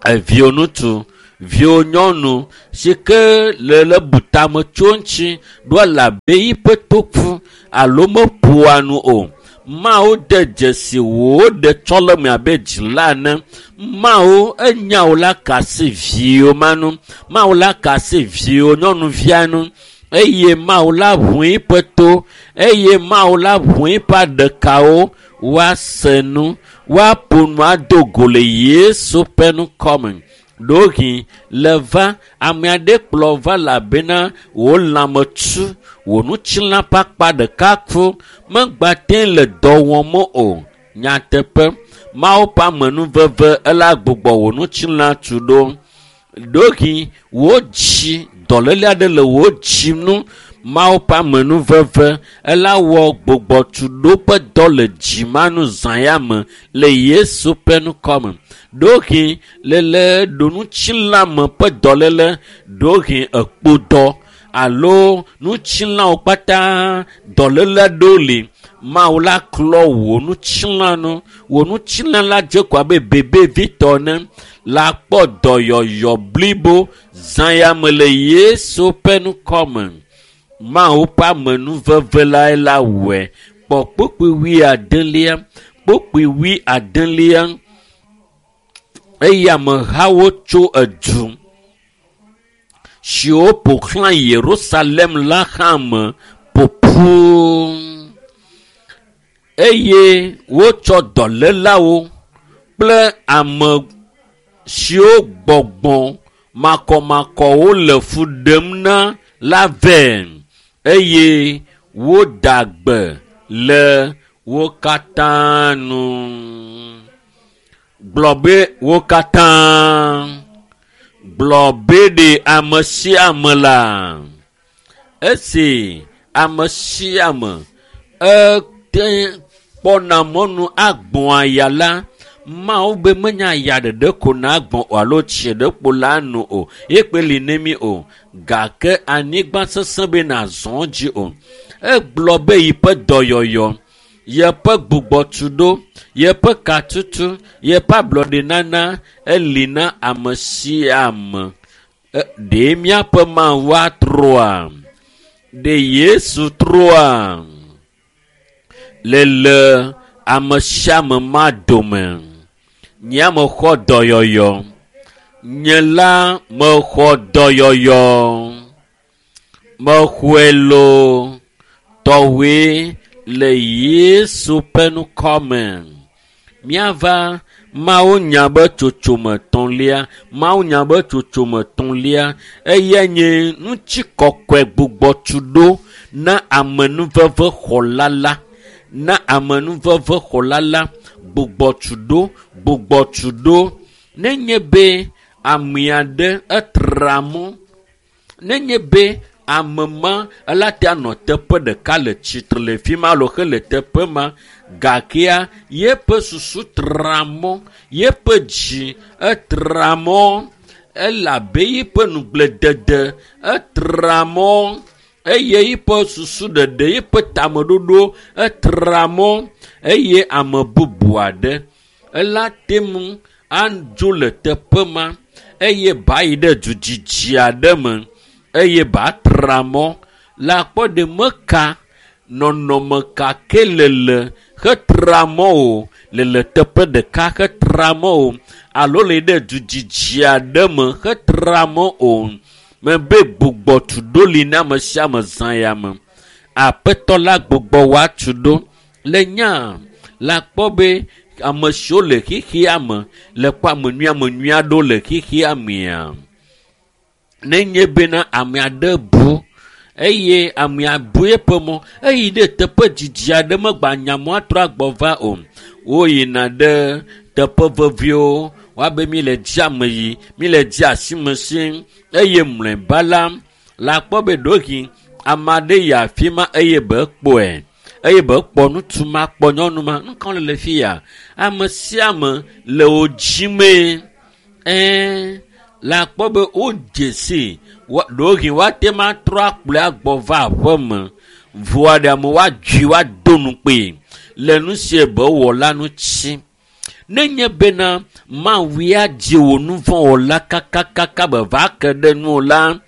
Eviwò ŋutsu, viwò nyɔnu si ke le le butame tso ŋuti ɖo elabe yiƒe toku alo meƒoa nu o. Mawu de dzesi wò ɖetsɔleme abe dzila ene. Mawu enya wò la ka asi viwò ma nu. Mawu la ka asi viwò nyɔnuvia nu eye Mawu la ʋu eƒe to eye Mawu la ʋu eƒe aɖekawo woase nu, woaƒo nu ado go le Yesu ƒe ŋkɔ me. Ɖewohĩ le va ame aɖe kplɔ va elabena wò lãme tu, wò ŋutilã ƒe akpa ɖeka ku, megbate le dɔ wɔm o. Nyateƒe, Mawu ƒe amenuveve ela gbugbɔ wò ŋutilã tu ɖo. Ɖewohĩ wò dzi, dɔléle aɖe le wò dzi nu, Mawu ƒe amenuveve ela wɔ gbugbɔtuɖo ƒe dɔ le dzi ma nu zã ya me le Yesu ƒe ŋkɔ me. Ɖewohĩ lele ɖo ŋutilãme ƒe dɔléle, ɖewohĩ ekpodɔ alo ŋutilãwo kpata dɔléle aɖewo li. Mawu la klɔ wò ŋutilã nu. Wò ŋutilã la dze ko abe bebevitɔ ene. La kpɔ dɔyɔyɔ blibo zã ya me le Yesu ƒe ŋkɔ me. Mawu ƒe amenuveve lae la wɔe. Kpɔ kpukpui wui adelia, kpukpui wui adelia eye amehawo tso edu siwo ƒo xlã Yerusalem la hã me ƒoƒu eye wotsɔ dɔlélawo kple ame siwo gbɔgbɔ makɔmakɔwo le fu ɖem na la vɛ eye woda gbe le wo katã nu. Gblɔ be wo katã. Gblɔ be ɖe ame sia ame la. Esi ame sia ame ete kpɔna mɔnu agbɔ̃ aya la, Mawu be menya aya ɖeɖe ko na gbɔ̃ o alo tsi ɖe kpo la nu o. Ye kpe li ne mi o. Gake anyigba sesẽ be nazɔ dzi o. Egblɔ be yiƒe dɔyɔyɔ, yeƒe gbugbɔtuɖo, yeƒe katutu, yeƒe ablɔɖenana eli na ame sia ame. Ɖe míaƒe Mawu atrɔa? Ɖe Yesu trɔa? Le le ame sia ame ma dome. Nye mexɔ dɔyɔyɔ. Nye la mexɔ dɔyɔyɔ. Mexɔe loo tɔwoe le Yesu ƒe ŋkɔ me. Míava Mawu nya be tsotsome tɔ̃lia. Mawu nya be tsotsome tɔ̃lia eyae nye ŋutikɔkɔe gbugbɔtuɖo na amenuvevexɔla la. Na amenuvevexɔla la gbugbɔtuɖo gbugbɔtuɖo. Nenye be ame aɖe etra mɔ, nenye be ame ma ela te anɔ teƒe ɖeka le tsitre le fi ma alo hele teƒe ma gakea yeƒe susu tra mɔ, yeƒe dzi etra mɔ, elabe yeƒe nugbledede etra mɔ eye yeƒe susu ɖeɖe, yeƒe tameɖoɖo etra mɔ eye ame bubu aɖe ela te ŋu adzo le teƒe ma eye ba yi ɖe du dzidzi aɖe me eye ba tra mɔ la kpɔ ɖe meka nɔnɔme ka ke le le hetra mɔ o le le teƒe ɖeka hetra mɔ o alo le ɖe du dzidzi aɖe me hetra mɔ o. Mebe gbugbɔtuɖo li na ame sia ame zã ya me. Aƒetɔ la gbugbɔ woatu ɖo le nya la kpɔ be ame siwo le xexea me le kpɔ ame nyui ame nyui aɖewo le xexea mea. Nenye bena ame aɖe bu eye amea bu eƒe mɔ eyi ɖe teƒe dzidzi aɖe megba nya mɔ atrɔ agbɔ va o. Woyina ɖe teƒe veviwo woabe mi le dzi ame yi, mi le dzi asime si eye mlɔeba la la kpɔ be ɖewohĩ ame aɖe yi afi ma eye be kpɔe eye be kpɔ ŋutsu ma kpɔ nyɔnu ma. Nu ka le fi ya? Ame sia ame le wo dzimee. Ɛɛ la kpɔ be wodze si ɖewohĩ woate ma trɔ akplɔe agbɔ va aƒe me. Vɔa ɖe ame woadzui woado nukpee le nu si be wɔ la ŋuti. Nenye bena Mawu ya dzi wò nu vɔ̃ wɔla kakakaka be va ke ɖe nuwò la,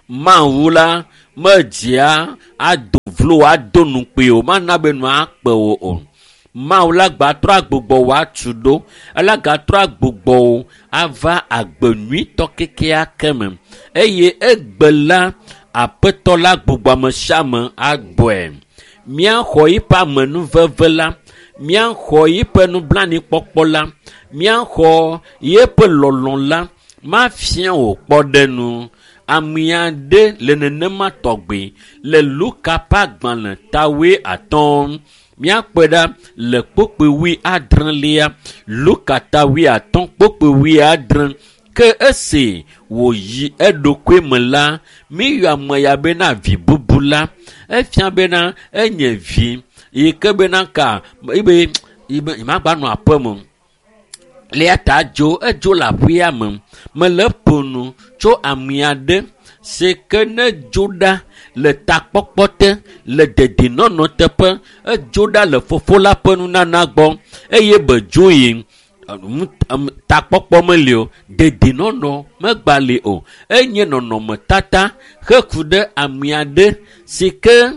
Mawu la medzia ado vlo ado nukpee o, mana be nua akpe wò o. Mawu la gatrɔ agbugbɔ wò atu ɖo, ela gatrɔ agbugbɔ wò ava agbe nyuitɔ kekeake me. Eye egbe la, Aƒetɔ la gbugbɔ ame sia ame agbɔe. Míaxɔ yiƒe amenuveve la, míaxɔ yiƒe nublanuikpɔkpɔ la, míaxɔ yeƒe lɔlɔ̃ la, mafia wò kpɔɖenu. Ame aɖe le nenema tɔgbi le Luka ƒe agbalẽ tawoe atɔ̃. Míakpɔe ɖa le kpukpui wui adrelia. Luka tawoe atɔ̃ kpukpui wui adre. Ke esi wòyi eɖokui me la, míyɔ ame ya bena vi bubu la. Efia bena enye vi yi ke bena ka ebe nyemagba nɔ aƒe me. Le ya ta dzo edzo le aƒea me. Mele ƒo nu tso ame aɖe si ke ne dzo ɖa le takpɔkpɔ te le dedinɔnɔ teƒe edzo ɖa le fofo la ƒe nunana gbɔ eye be dzo yi takpɔkpɔ meli o, dedinɔnɔ megba li o. Enye nɔnɔmetata heku ɖe ame aɖe si ke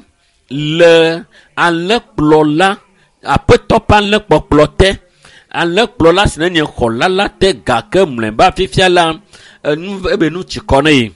le alẽkplɔla aƒetɔ ƒe alẽkpɔkplɔ te. Alẽkplɔla si nenye xɔla la te gake mlɔeba fifia la enu ebe nu tsi kɔ ne yi.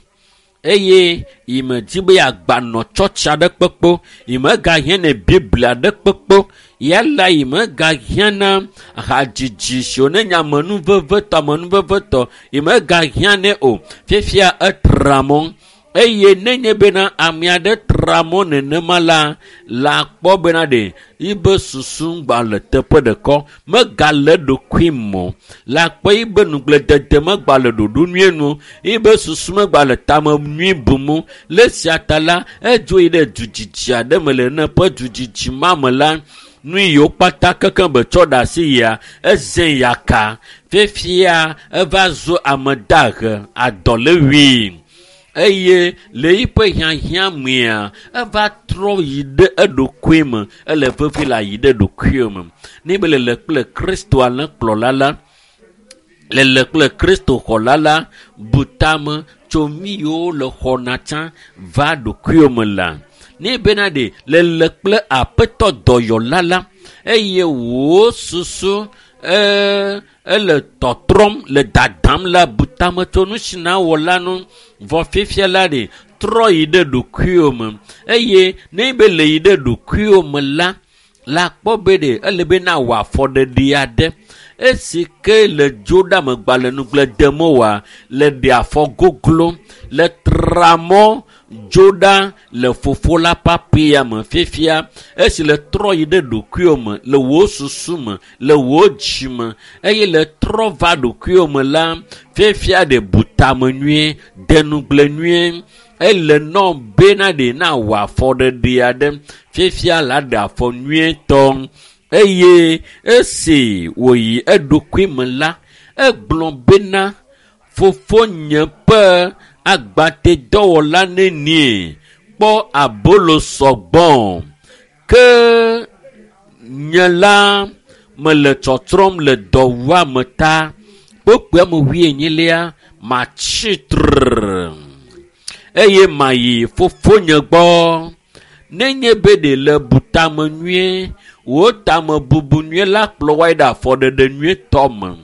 Eye yime di be yeagbanɔ tsɔtsi aɖe kpekpe, yime gahiã ne Biblia aɖe kpekpe, yala yime gahiã na hadzidzi siwo ne nye amenuvevetɔ amenuvevetɔ, yime gahiã nɛ o. Fifia etra mɔ. Eye nenye bena ame aɖe tra mɔ nenema la, la kpɔ bena ɖe yibe susu gba le teƒe ɖeka, megale ɖokui mɔ. La kpɔ yibe nugblẽdede megba le ɖoɖo nyuie nu, yibe susu megba le tame nyui bum o. Le esia ta la, edzo yi ɖe dudzidzi aɖe me le ne ƒe dudzidzi ma me la, nu yiwo kpata kekeŋ be tsɔ ɖe asi yia, eze yaka. Fifia eva zu ame dahe, adɔlewui. Eye le yiƒe hiahiã mea, eva trɔ yi ɖe eɖokui me. Ele vevi le ayi ɖe ɖokuiwo me. Ne be lele kple Kristo alẽkplɔla la, lele kple Kristo xɔla la, bu tame tso nu yiwo le xɔna tsã va ɖokuiwo me la. Ne bena ɖe lele kple aƒetɔ dɔyɔla la, eye wò susu, e, ele tɔtrɔm le dadam la, bu tame tso nu si na wɔ la nu. Vɔ fifia la ɖe trɔ yi ɖe ɖokuiwo me. Eye ne be le yi ɖe ɖokuiwo me la, la kpɔ be ɖe ele be na wɔ afɔɖeɖe aɖe. Esi ke le dzo ɖe amegba le nugble dem oa, le ɖe afɔ goglo, le tra mɔ dzo ɖa le fofo la ƒe aƒea me. Fifia esi le trɔ yi ɖe ɖokuiwo me, le wò susu me, le wò dzi me, eye le trɔ va ɖokuiwo me la, fifia ɖe bu tame nyuie, de nugble nyuie. Ele nɔ bena ɖe na wɔ afɔɖeɖe aɖe. Fifia la ɖe afɔ nyuietɔ. Eye esi wòyi eɖokui me la, egblɔ bena fofonye ƒe agbatedɔwɔla nenie kpɔ abolo sɔgbɔ. Ke nye la mele tsɔtsrɔ̃m le dɔwuame ta. Kpokpoa me wuienyilia, matsi tre eye mayi fofonye gbɔ. Nenye be ɖe le bu tame nyuie, wò tame bubu nyuie la kplɔ woayi ɖe afɔɖeɖe nyuietɔ me.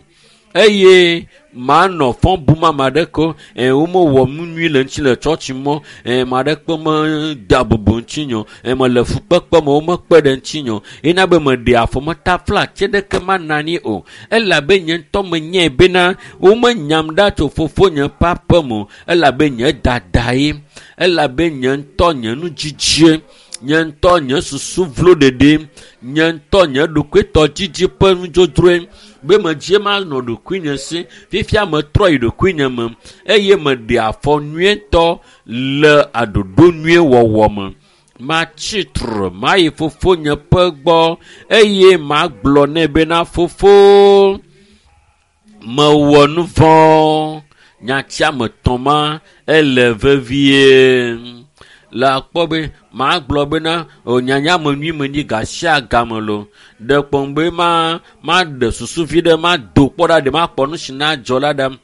Eye manɔ fɔ bum ame aɖeke o. Ɛ, womewɔ nu nyui le ŋuti le tsɔtsi mɔ. Ɛ, ame aɖeke medea bubu ŋutinye o. Ɛ, mele fukpekpe me, womekpe ɖe ŋutinye o. Ena be meɖe afɔ metafla tse ɖeke mana anyi o. Elabe nye ŋutɔ menyae bena womenyam ɖa tso fofonye ƒe aƒe me o. Elabe nye dadae. Elabe nye ŋutɔ nye nudzidzie. Nye ŋutɔ nye susu vlo ɖeɖe. Nye ŋutɔ nye ɖokuitɔdzidzi ƒe nudzodzroe. Be medie manɔ ɖokuinye si. Fifia metrɔ yi ɖokuinye me eye meɖe afɔ nyuietɔ le aɖoɖo nyuie wɔwɔ me. Matsi tre, mayi fofonye ƒe gbɔ eye magblɔ nɛ bena fofo, mewɔ nu vɔ̃. Nyatia me tɔ̃ ma ele vevie. Le akpɔ be magblɔ bena o nyanya me nyui me nyi gasia game lo. Ɖe kpɔm be ma maɖe susu vi ɖe mado kpɔ ɖa ɖe makpɔ nu si na dzɔ la ɖa.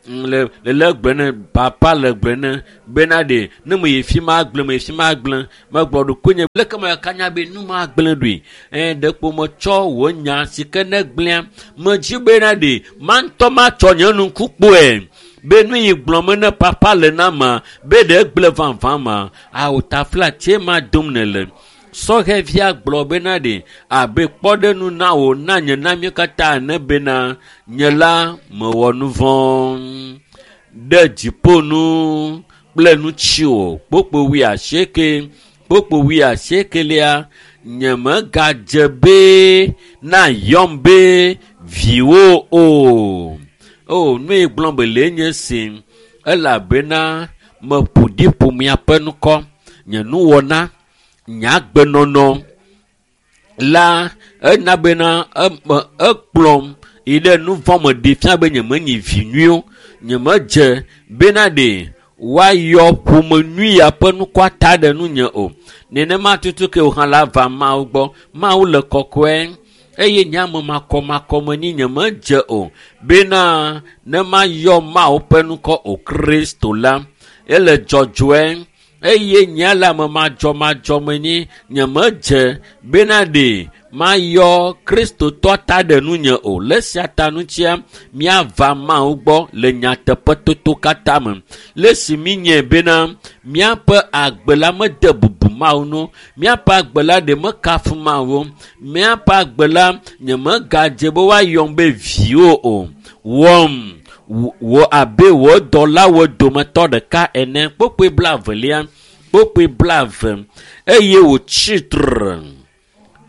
Le le le gblẽ ne papa le gblẽ ne bena ɖe ne me yi fi ma gblẽ me yi fi ma gblẽ megblɔ ɖokuinye leke me ka nya be nu ma gblẽ ɖoe. Ɛ ɖe kpo metsɔ wò nya si ke ne gblẽa medzi bena ɖe ma ŋutɔ matsɔ nye nuku kpɔe. Be nu yi gblɔm me ne papa le na ma be ɖe gblẽ vavã ma awo tafla tse ma dom ne le. Sɔhɛvia gblɔ bena ɖe abe kpɔɖenu na wò na nye na mí katã ene bena nye la mewɔ nu vɔ̃ ɖe dziƒo nu kple ŋutiwò. Kpokpo wuiasieke, kpokpo wuiasiekelia, nye megadze be na yɔm be viwò o. O, nu yi gblɔm be le nye si, elabena meƒo ɖi ƒomea ƒe ŋkɔ, nye nuwɔna, nye agbenɔnɔ la ena bena eme ekplɔm yi ɖe nu vɔ̃ me ɖi fia be nyemenyi vi nyui o. Nyemedze bena ɖe woayɔ ƒome nyui ya ƒe ŋkɔa ta ɖe nunye o. Nenema tutu ke wò hã la va Mawu gbɔ. Mawu le kɔkɔe eye nye ame makɔmakɔ menyi nyemedze o bena ne mayɔ Mawu ƒe ŋkɔ o. Kristo la ele dzɔdzɔe eye nye le ame madzɔmadzɔ menyi nyemedze bena ɖe Mayɔ Kristotɔ ta ɖe nunye o. Le sia ta ŋutia, míava Mawu gbɔ le nyateƒetoto katã me. Le si míenyae bena míaƒe agbe la mede bubu Mawu ŋu, míaƒe agbe la ɖe mekafu Mawu o, míaƒe agbe la nyemegadze be woayɔm be viwo o. Wɔm wò abe wò dɔlawo dometɔ ɖeka ene. Kpokpoe blaevelia, kpokpoe blaeve eye wòtsi tre.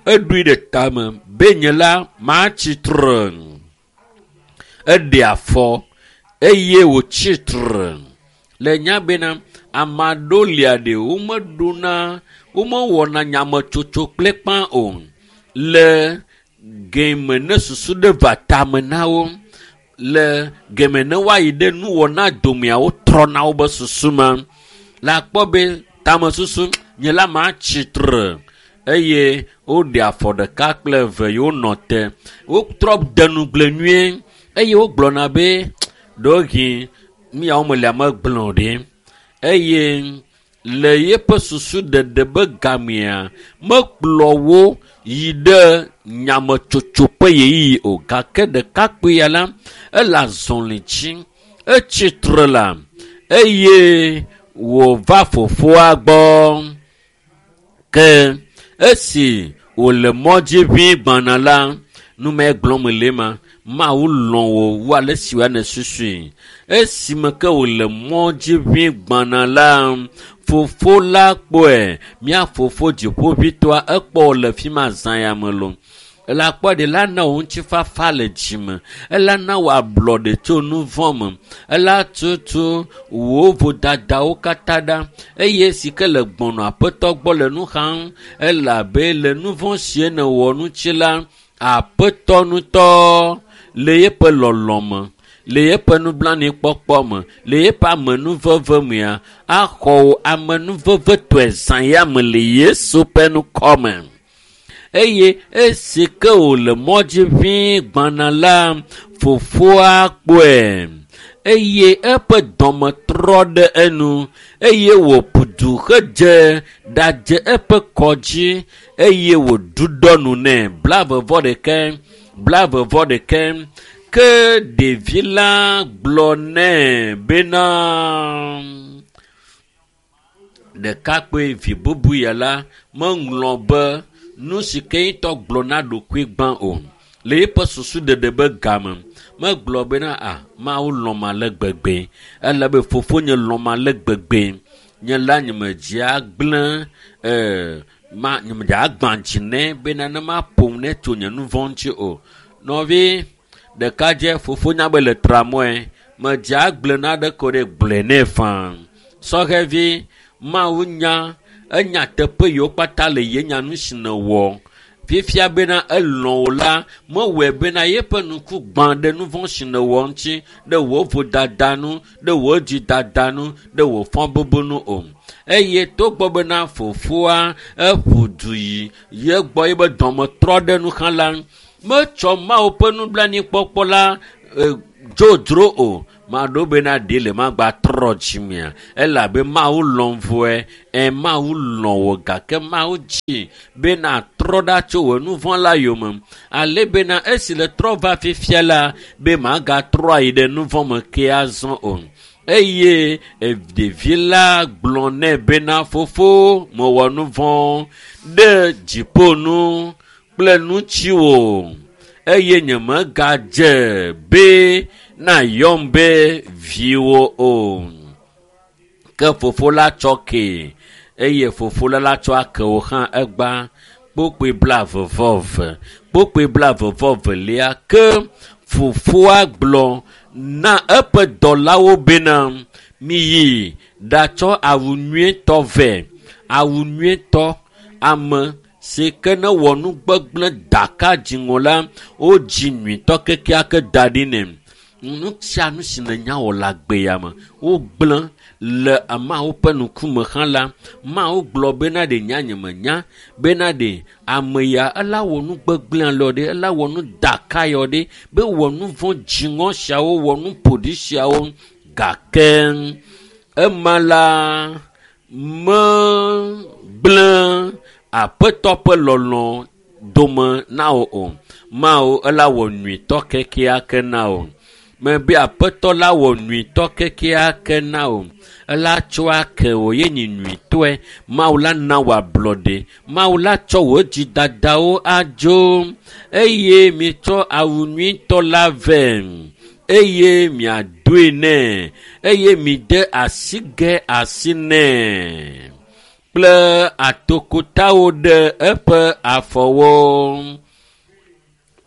Eɖoe ɖe tame be nye la matsi tre. Eɖe afɔ eye wòtsi tre. Le nya bena ame aɖewo lia ɖe womeɖona, womewɔna nyametsotso kple kpã o. Le geme ne susu ɖe va tame na wo, le geme ne woayi ɖe nuwɔna domea, wotrɔna wobe susu ma. Le akpɔ be tamesusu nye la matsi tre eye woɖe afɔ ɖeka kple eve ye wonɔ te. Wotrɔ de nugble nyuie eye wogblɔna be ɖewohĩ míawo melia megblẽ o ɖe. Eye le yeƒe susu ɖeɖe be gamea, mekplɔ wo yi ɖe nyametsotso ƒe ɣeyiɣi o. Gake ɖekakpui ya la, ele azɔli dzi, etsi tre la eye wòva fofoa gbɔ. Ke esi wòle mɔ dzi ʋĩi gbɔna la, nu mae gblɔm le ma, Mawu lɔ̃ wò wu ale si wòane susui. Esime ke wòle mɔ dzi ʋĩi gbɔna la, fofo la kpɔe. Mía fofo dziƒoʋĩtɔa ekpɔ wò le fi ma zã ya me loo. Ele akpɔ ɖe la na wò ŋutifafa le dzime. Ela na wò ablɔɖe tso nu vɔ̃ me. Ela tutu wò vodadawo katã ɖa eye si ke le gbɔnɔ aƒetɔ gbɔ le nu xam elabe le nu vɔ̃ sie nèwɔ ŋuti la, aƒetɔ ŋutɔ le yeƒe lɔlɔ̃ me, le yeƒe nublanuikpɔkpɔ me, le yeƒe amenuveve mea, axɔ wò amenuvevetɔe zã ya me le Yesu ƒe ŋkɔ me. Eye esi ke wòle mɔ dzi ʋĩi gbɔna la, fofoa kpɔe eye eƒe dɔme trɔ ɖe enu eye wòƒu du hedze ɖadze eƒe kɔ dzi eye wòɖuɖɔ nu nɛ. Blaeve vɔ ɖeke, blaeve vɔ ɖeke. Ke ɖevi la gblɔ nɛ bena ɖekakpui vi bubu ya la meŋlɔ be nu si ke ŋutɔ gblɔ na ɖokui gbã o. Le eƒe susu ɖeɖe be game, megblɔ bena a Mawu lɔ̃m ale gbegbe elabe fofonye lɔ̃m ale gbegbe. Nye la nyemedze agblẽ ee ma nyemedze agbã dzi nɛ bena ne maƒom ne tso nye nu vɔ̃ ŋuti o. Nɔvi ɖekadze fofonya be le tramɔe medze agblẽ naɖe ko ɖe gblɔe nɛ faa. Sɔhɛvi Mawu nya enya teƒe yiwo kpata le ye nya nu si nèwɔ. Fifia bena elɔ̃ wò la, mewɔe bena yeƒe ŋku gbã ɖe nu vɔ̃ si nèwɔ ŋuti, ɖe wò vodada nu, ɖe wò dzidada nu, ɖe wò fɔbubu nu o. Eye togbɔ bena fofoa eƒu du yi ye gbɔ yebe dɔme trɔ ɖe nu hã la, metsɔ Mawu ƒe nublanuikpɔkpɔ la dzodzro o. Maɖo bena ɖe le magba trɔ dzimea elabe Mawu lɔ̃m vɔe. Ɛ Mawu lɔ̃ wò gake Mawu dzi bena trɔ ɖa tso wò nu vɔ̃ la yome. Ale bena esi le trɔ va fifia la be magatrɔ ayi ɖe nu vɔ̃ me ke azɔ o. Eye ɖevi la gblɔ nɛ bena fofo mewɔ nu vɔ̃ ɖe dziƒo nu kple ŋutiwò eye nyemegadze be nayɔm be viwò o. Ke fofo la tsɔ kee eye fofo la la tsɔ ake wò hã egba. Kpokpoe blaeve vɔ eve, kpokpoe blaeve vɔ velia. Ke fofoa gblɔ na eƒe dɔlawo bena miyi ɖatsɔ awu nyuietɔ vɛ. Awu nyuietɔ ame si ke ne wɔ nu gbegblẽ daka dziŋɔ la, wodzi nyuitɔ kekeake da ɖi nɛ. Nu sia nu si nènya wɔ le agbe ya me, wogblẽ le Mawu ƒe ŋkume hã la, Mawu gblɔ bena ɖe nya nyemenya bena ɖe ame ya ela wɔ nu gbegblẽ alɔ ɖe, ela wɔ nu daka yɔ ɖe, be wɔ nu vɔ̃ dziŋɔ siawo, wɔ nu ƒoɖi siawo. Gake ema la megblẽ aƒetɔ ƒe lɔlɔ̃ dome na wò o. Mawu ela wɔ nyuitɔ kekeake na wò. Mebe aƒetɔ la wɔ nyuitɔ kekeake na wò. Ela tsɔ ake wò ye nyi nyuitɔe. Mawu la na wò ablɔɖe. Mawu la tsɔ wò dzidadawo adzo eye mitsɔ awu nyuitɔ la vɛ eye miadoe nɛ eye mide asigɛ asi nɛ kple atokotawo ɖe eƒe afɔwo.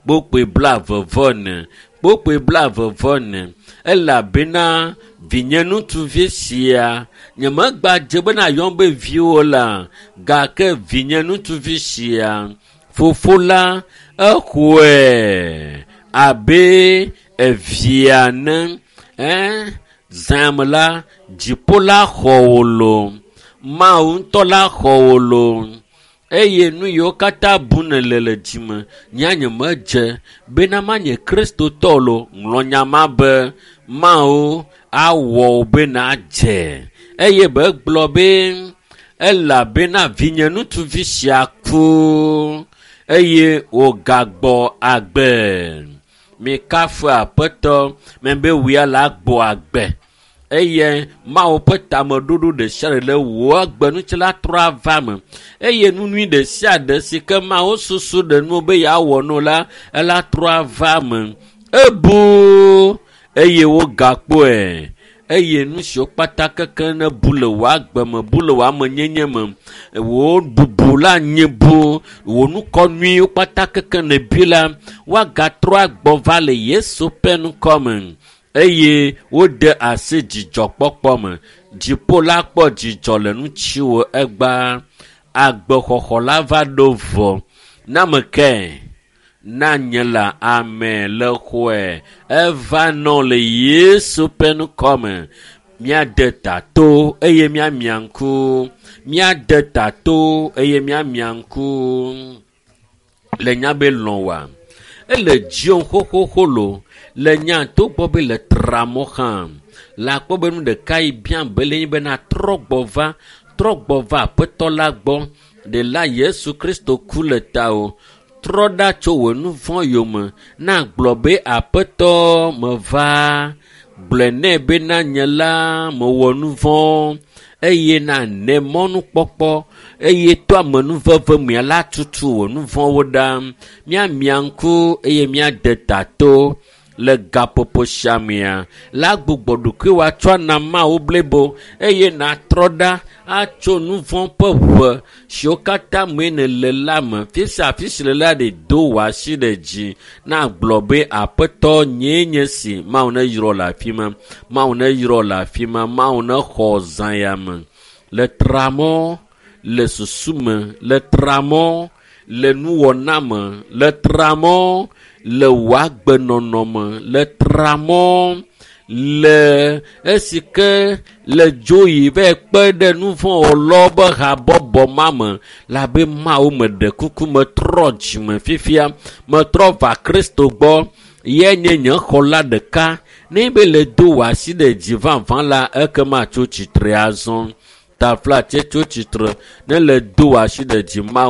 Kpokpoe blaeve-vɔ-ene, kpokpoe blaeve-vɔ-ene elabena vinye ŋutsuvi sia nyemegbadze bena yɔm be viwò la gake vinye ŋutsuvi sia fofo la exɔe abe evia ene. Ɛ zãme la dziƒo la xɔ wò loo. Mawu ŋutɔ la xɔ wò loo. Eye nu yiwo katã bum nèle le dzime nya nyemedze bena manye kristotɔ loo. Ŋlɔ nya ma be Mawu awɔ wò be nàdze. Eye be gblɔ be elabena vinye ŋutsuvi sia ku eye wògagbɔ agbe. Mikafu aƒetɔ mebe wòya la gbɔ agbe. Eye Mawu ƒe tameɖoɖo ɖe sia ɖe le wò agbe ŋuti la trɔ ava me. Eye nu nyui ɖe sia ɖe si ke Mawu susu ɖe nu be yeawɔ no la, ela trɔ ava me. Ebu eye wogakpɔe. Eye nu siwo kpata keke ne bu le wò agbe me, bu le wò amenyenye me, wò bubu la nye bu, wò nukɔ nyuiwo kpata keke ne bi la, woagatrɔ agbɔ va le Yesu ƒe ŋkɔ me. Eye wode asi dzidzɔkpɔkpɔ me. Dziƒo la kpɔ dzidzɔ le ŋutiwò egbea. Agbexɔxɔ la va ɖo vɔ. Na ame kae? Na nye la ame le xɔe. Eva nɔ le Yesu ƒe ŋkɔ me. Míade ta to eye míamia ŋku. Míade ta to eye míamia ŋku. Le nya be lɔ̃ wòa? Ele dziwò xoxoxo loo. Le nya togbɔ be le tra mɔ hã. Le akpɔ be nu ɖeka yi biam be le nyi bena trɔ gbɔ va, trɔ gbɔ va aƒetɔ la gbɔ. Ɖela Yesu Kristo ku le tawò. Trɔ ɖa tso wò nu vɔ̃ yome. Na gblɔ be aƒetɔ meva. Gblɔe nɛ bena nye la mewɔ nu vɔ̃ eye na ne mɔnukpɔkpɔ eye to amenuveve mea la tutu wò nu vɔ̃wo ɖa. Míamia ŋku eye míade ta to le gaƒoƒo sia mea la gbugbɔ ɖokuiwò atsɔ ana Mawu blibo eye nàtrɔ ɖa atso nu vɔ̃ ƒe ʋe siwo katã mee nèle la me. Fi sia afi si le la ɖe do wò asi ɖe dzi na gblɔ be aƒetɔ nyee nye si. Mawu neyrɔ le afi ma. Mawu neyrɔ le afi ma. Mawu nexɔ zã ya me. Le tramɔ le susu me, le tramɔ le nuwɔna me, le tramɔ le wò agbenɔnɔ me, le tramɔ le esi ke le dzo yi va kpe ɖe nu vɔ̃ wɔlawo be habɔbɔ ma me la be Mawu meɖe kuku metrɔ dzime fifia, metrɔ va Kristo gbɔ. Ye nye nye xɔla ɖeka. Ne be le do wò asi ɖe dzi vavã la, ekema tso tsitre azɔ. Taflatse tso tsitre ne le do wò asi ɖe dzi Mawu.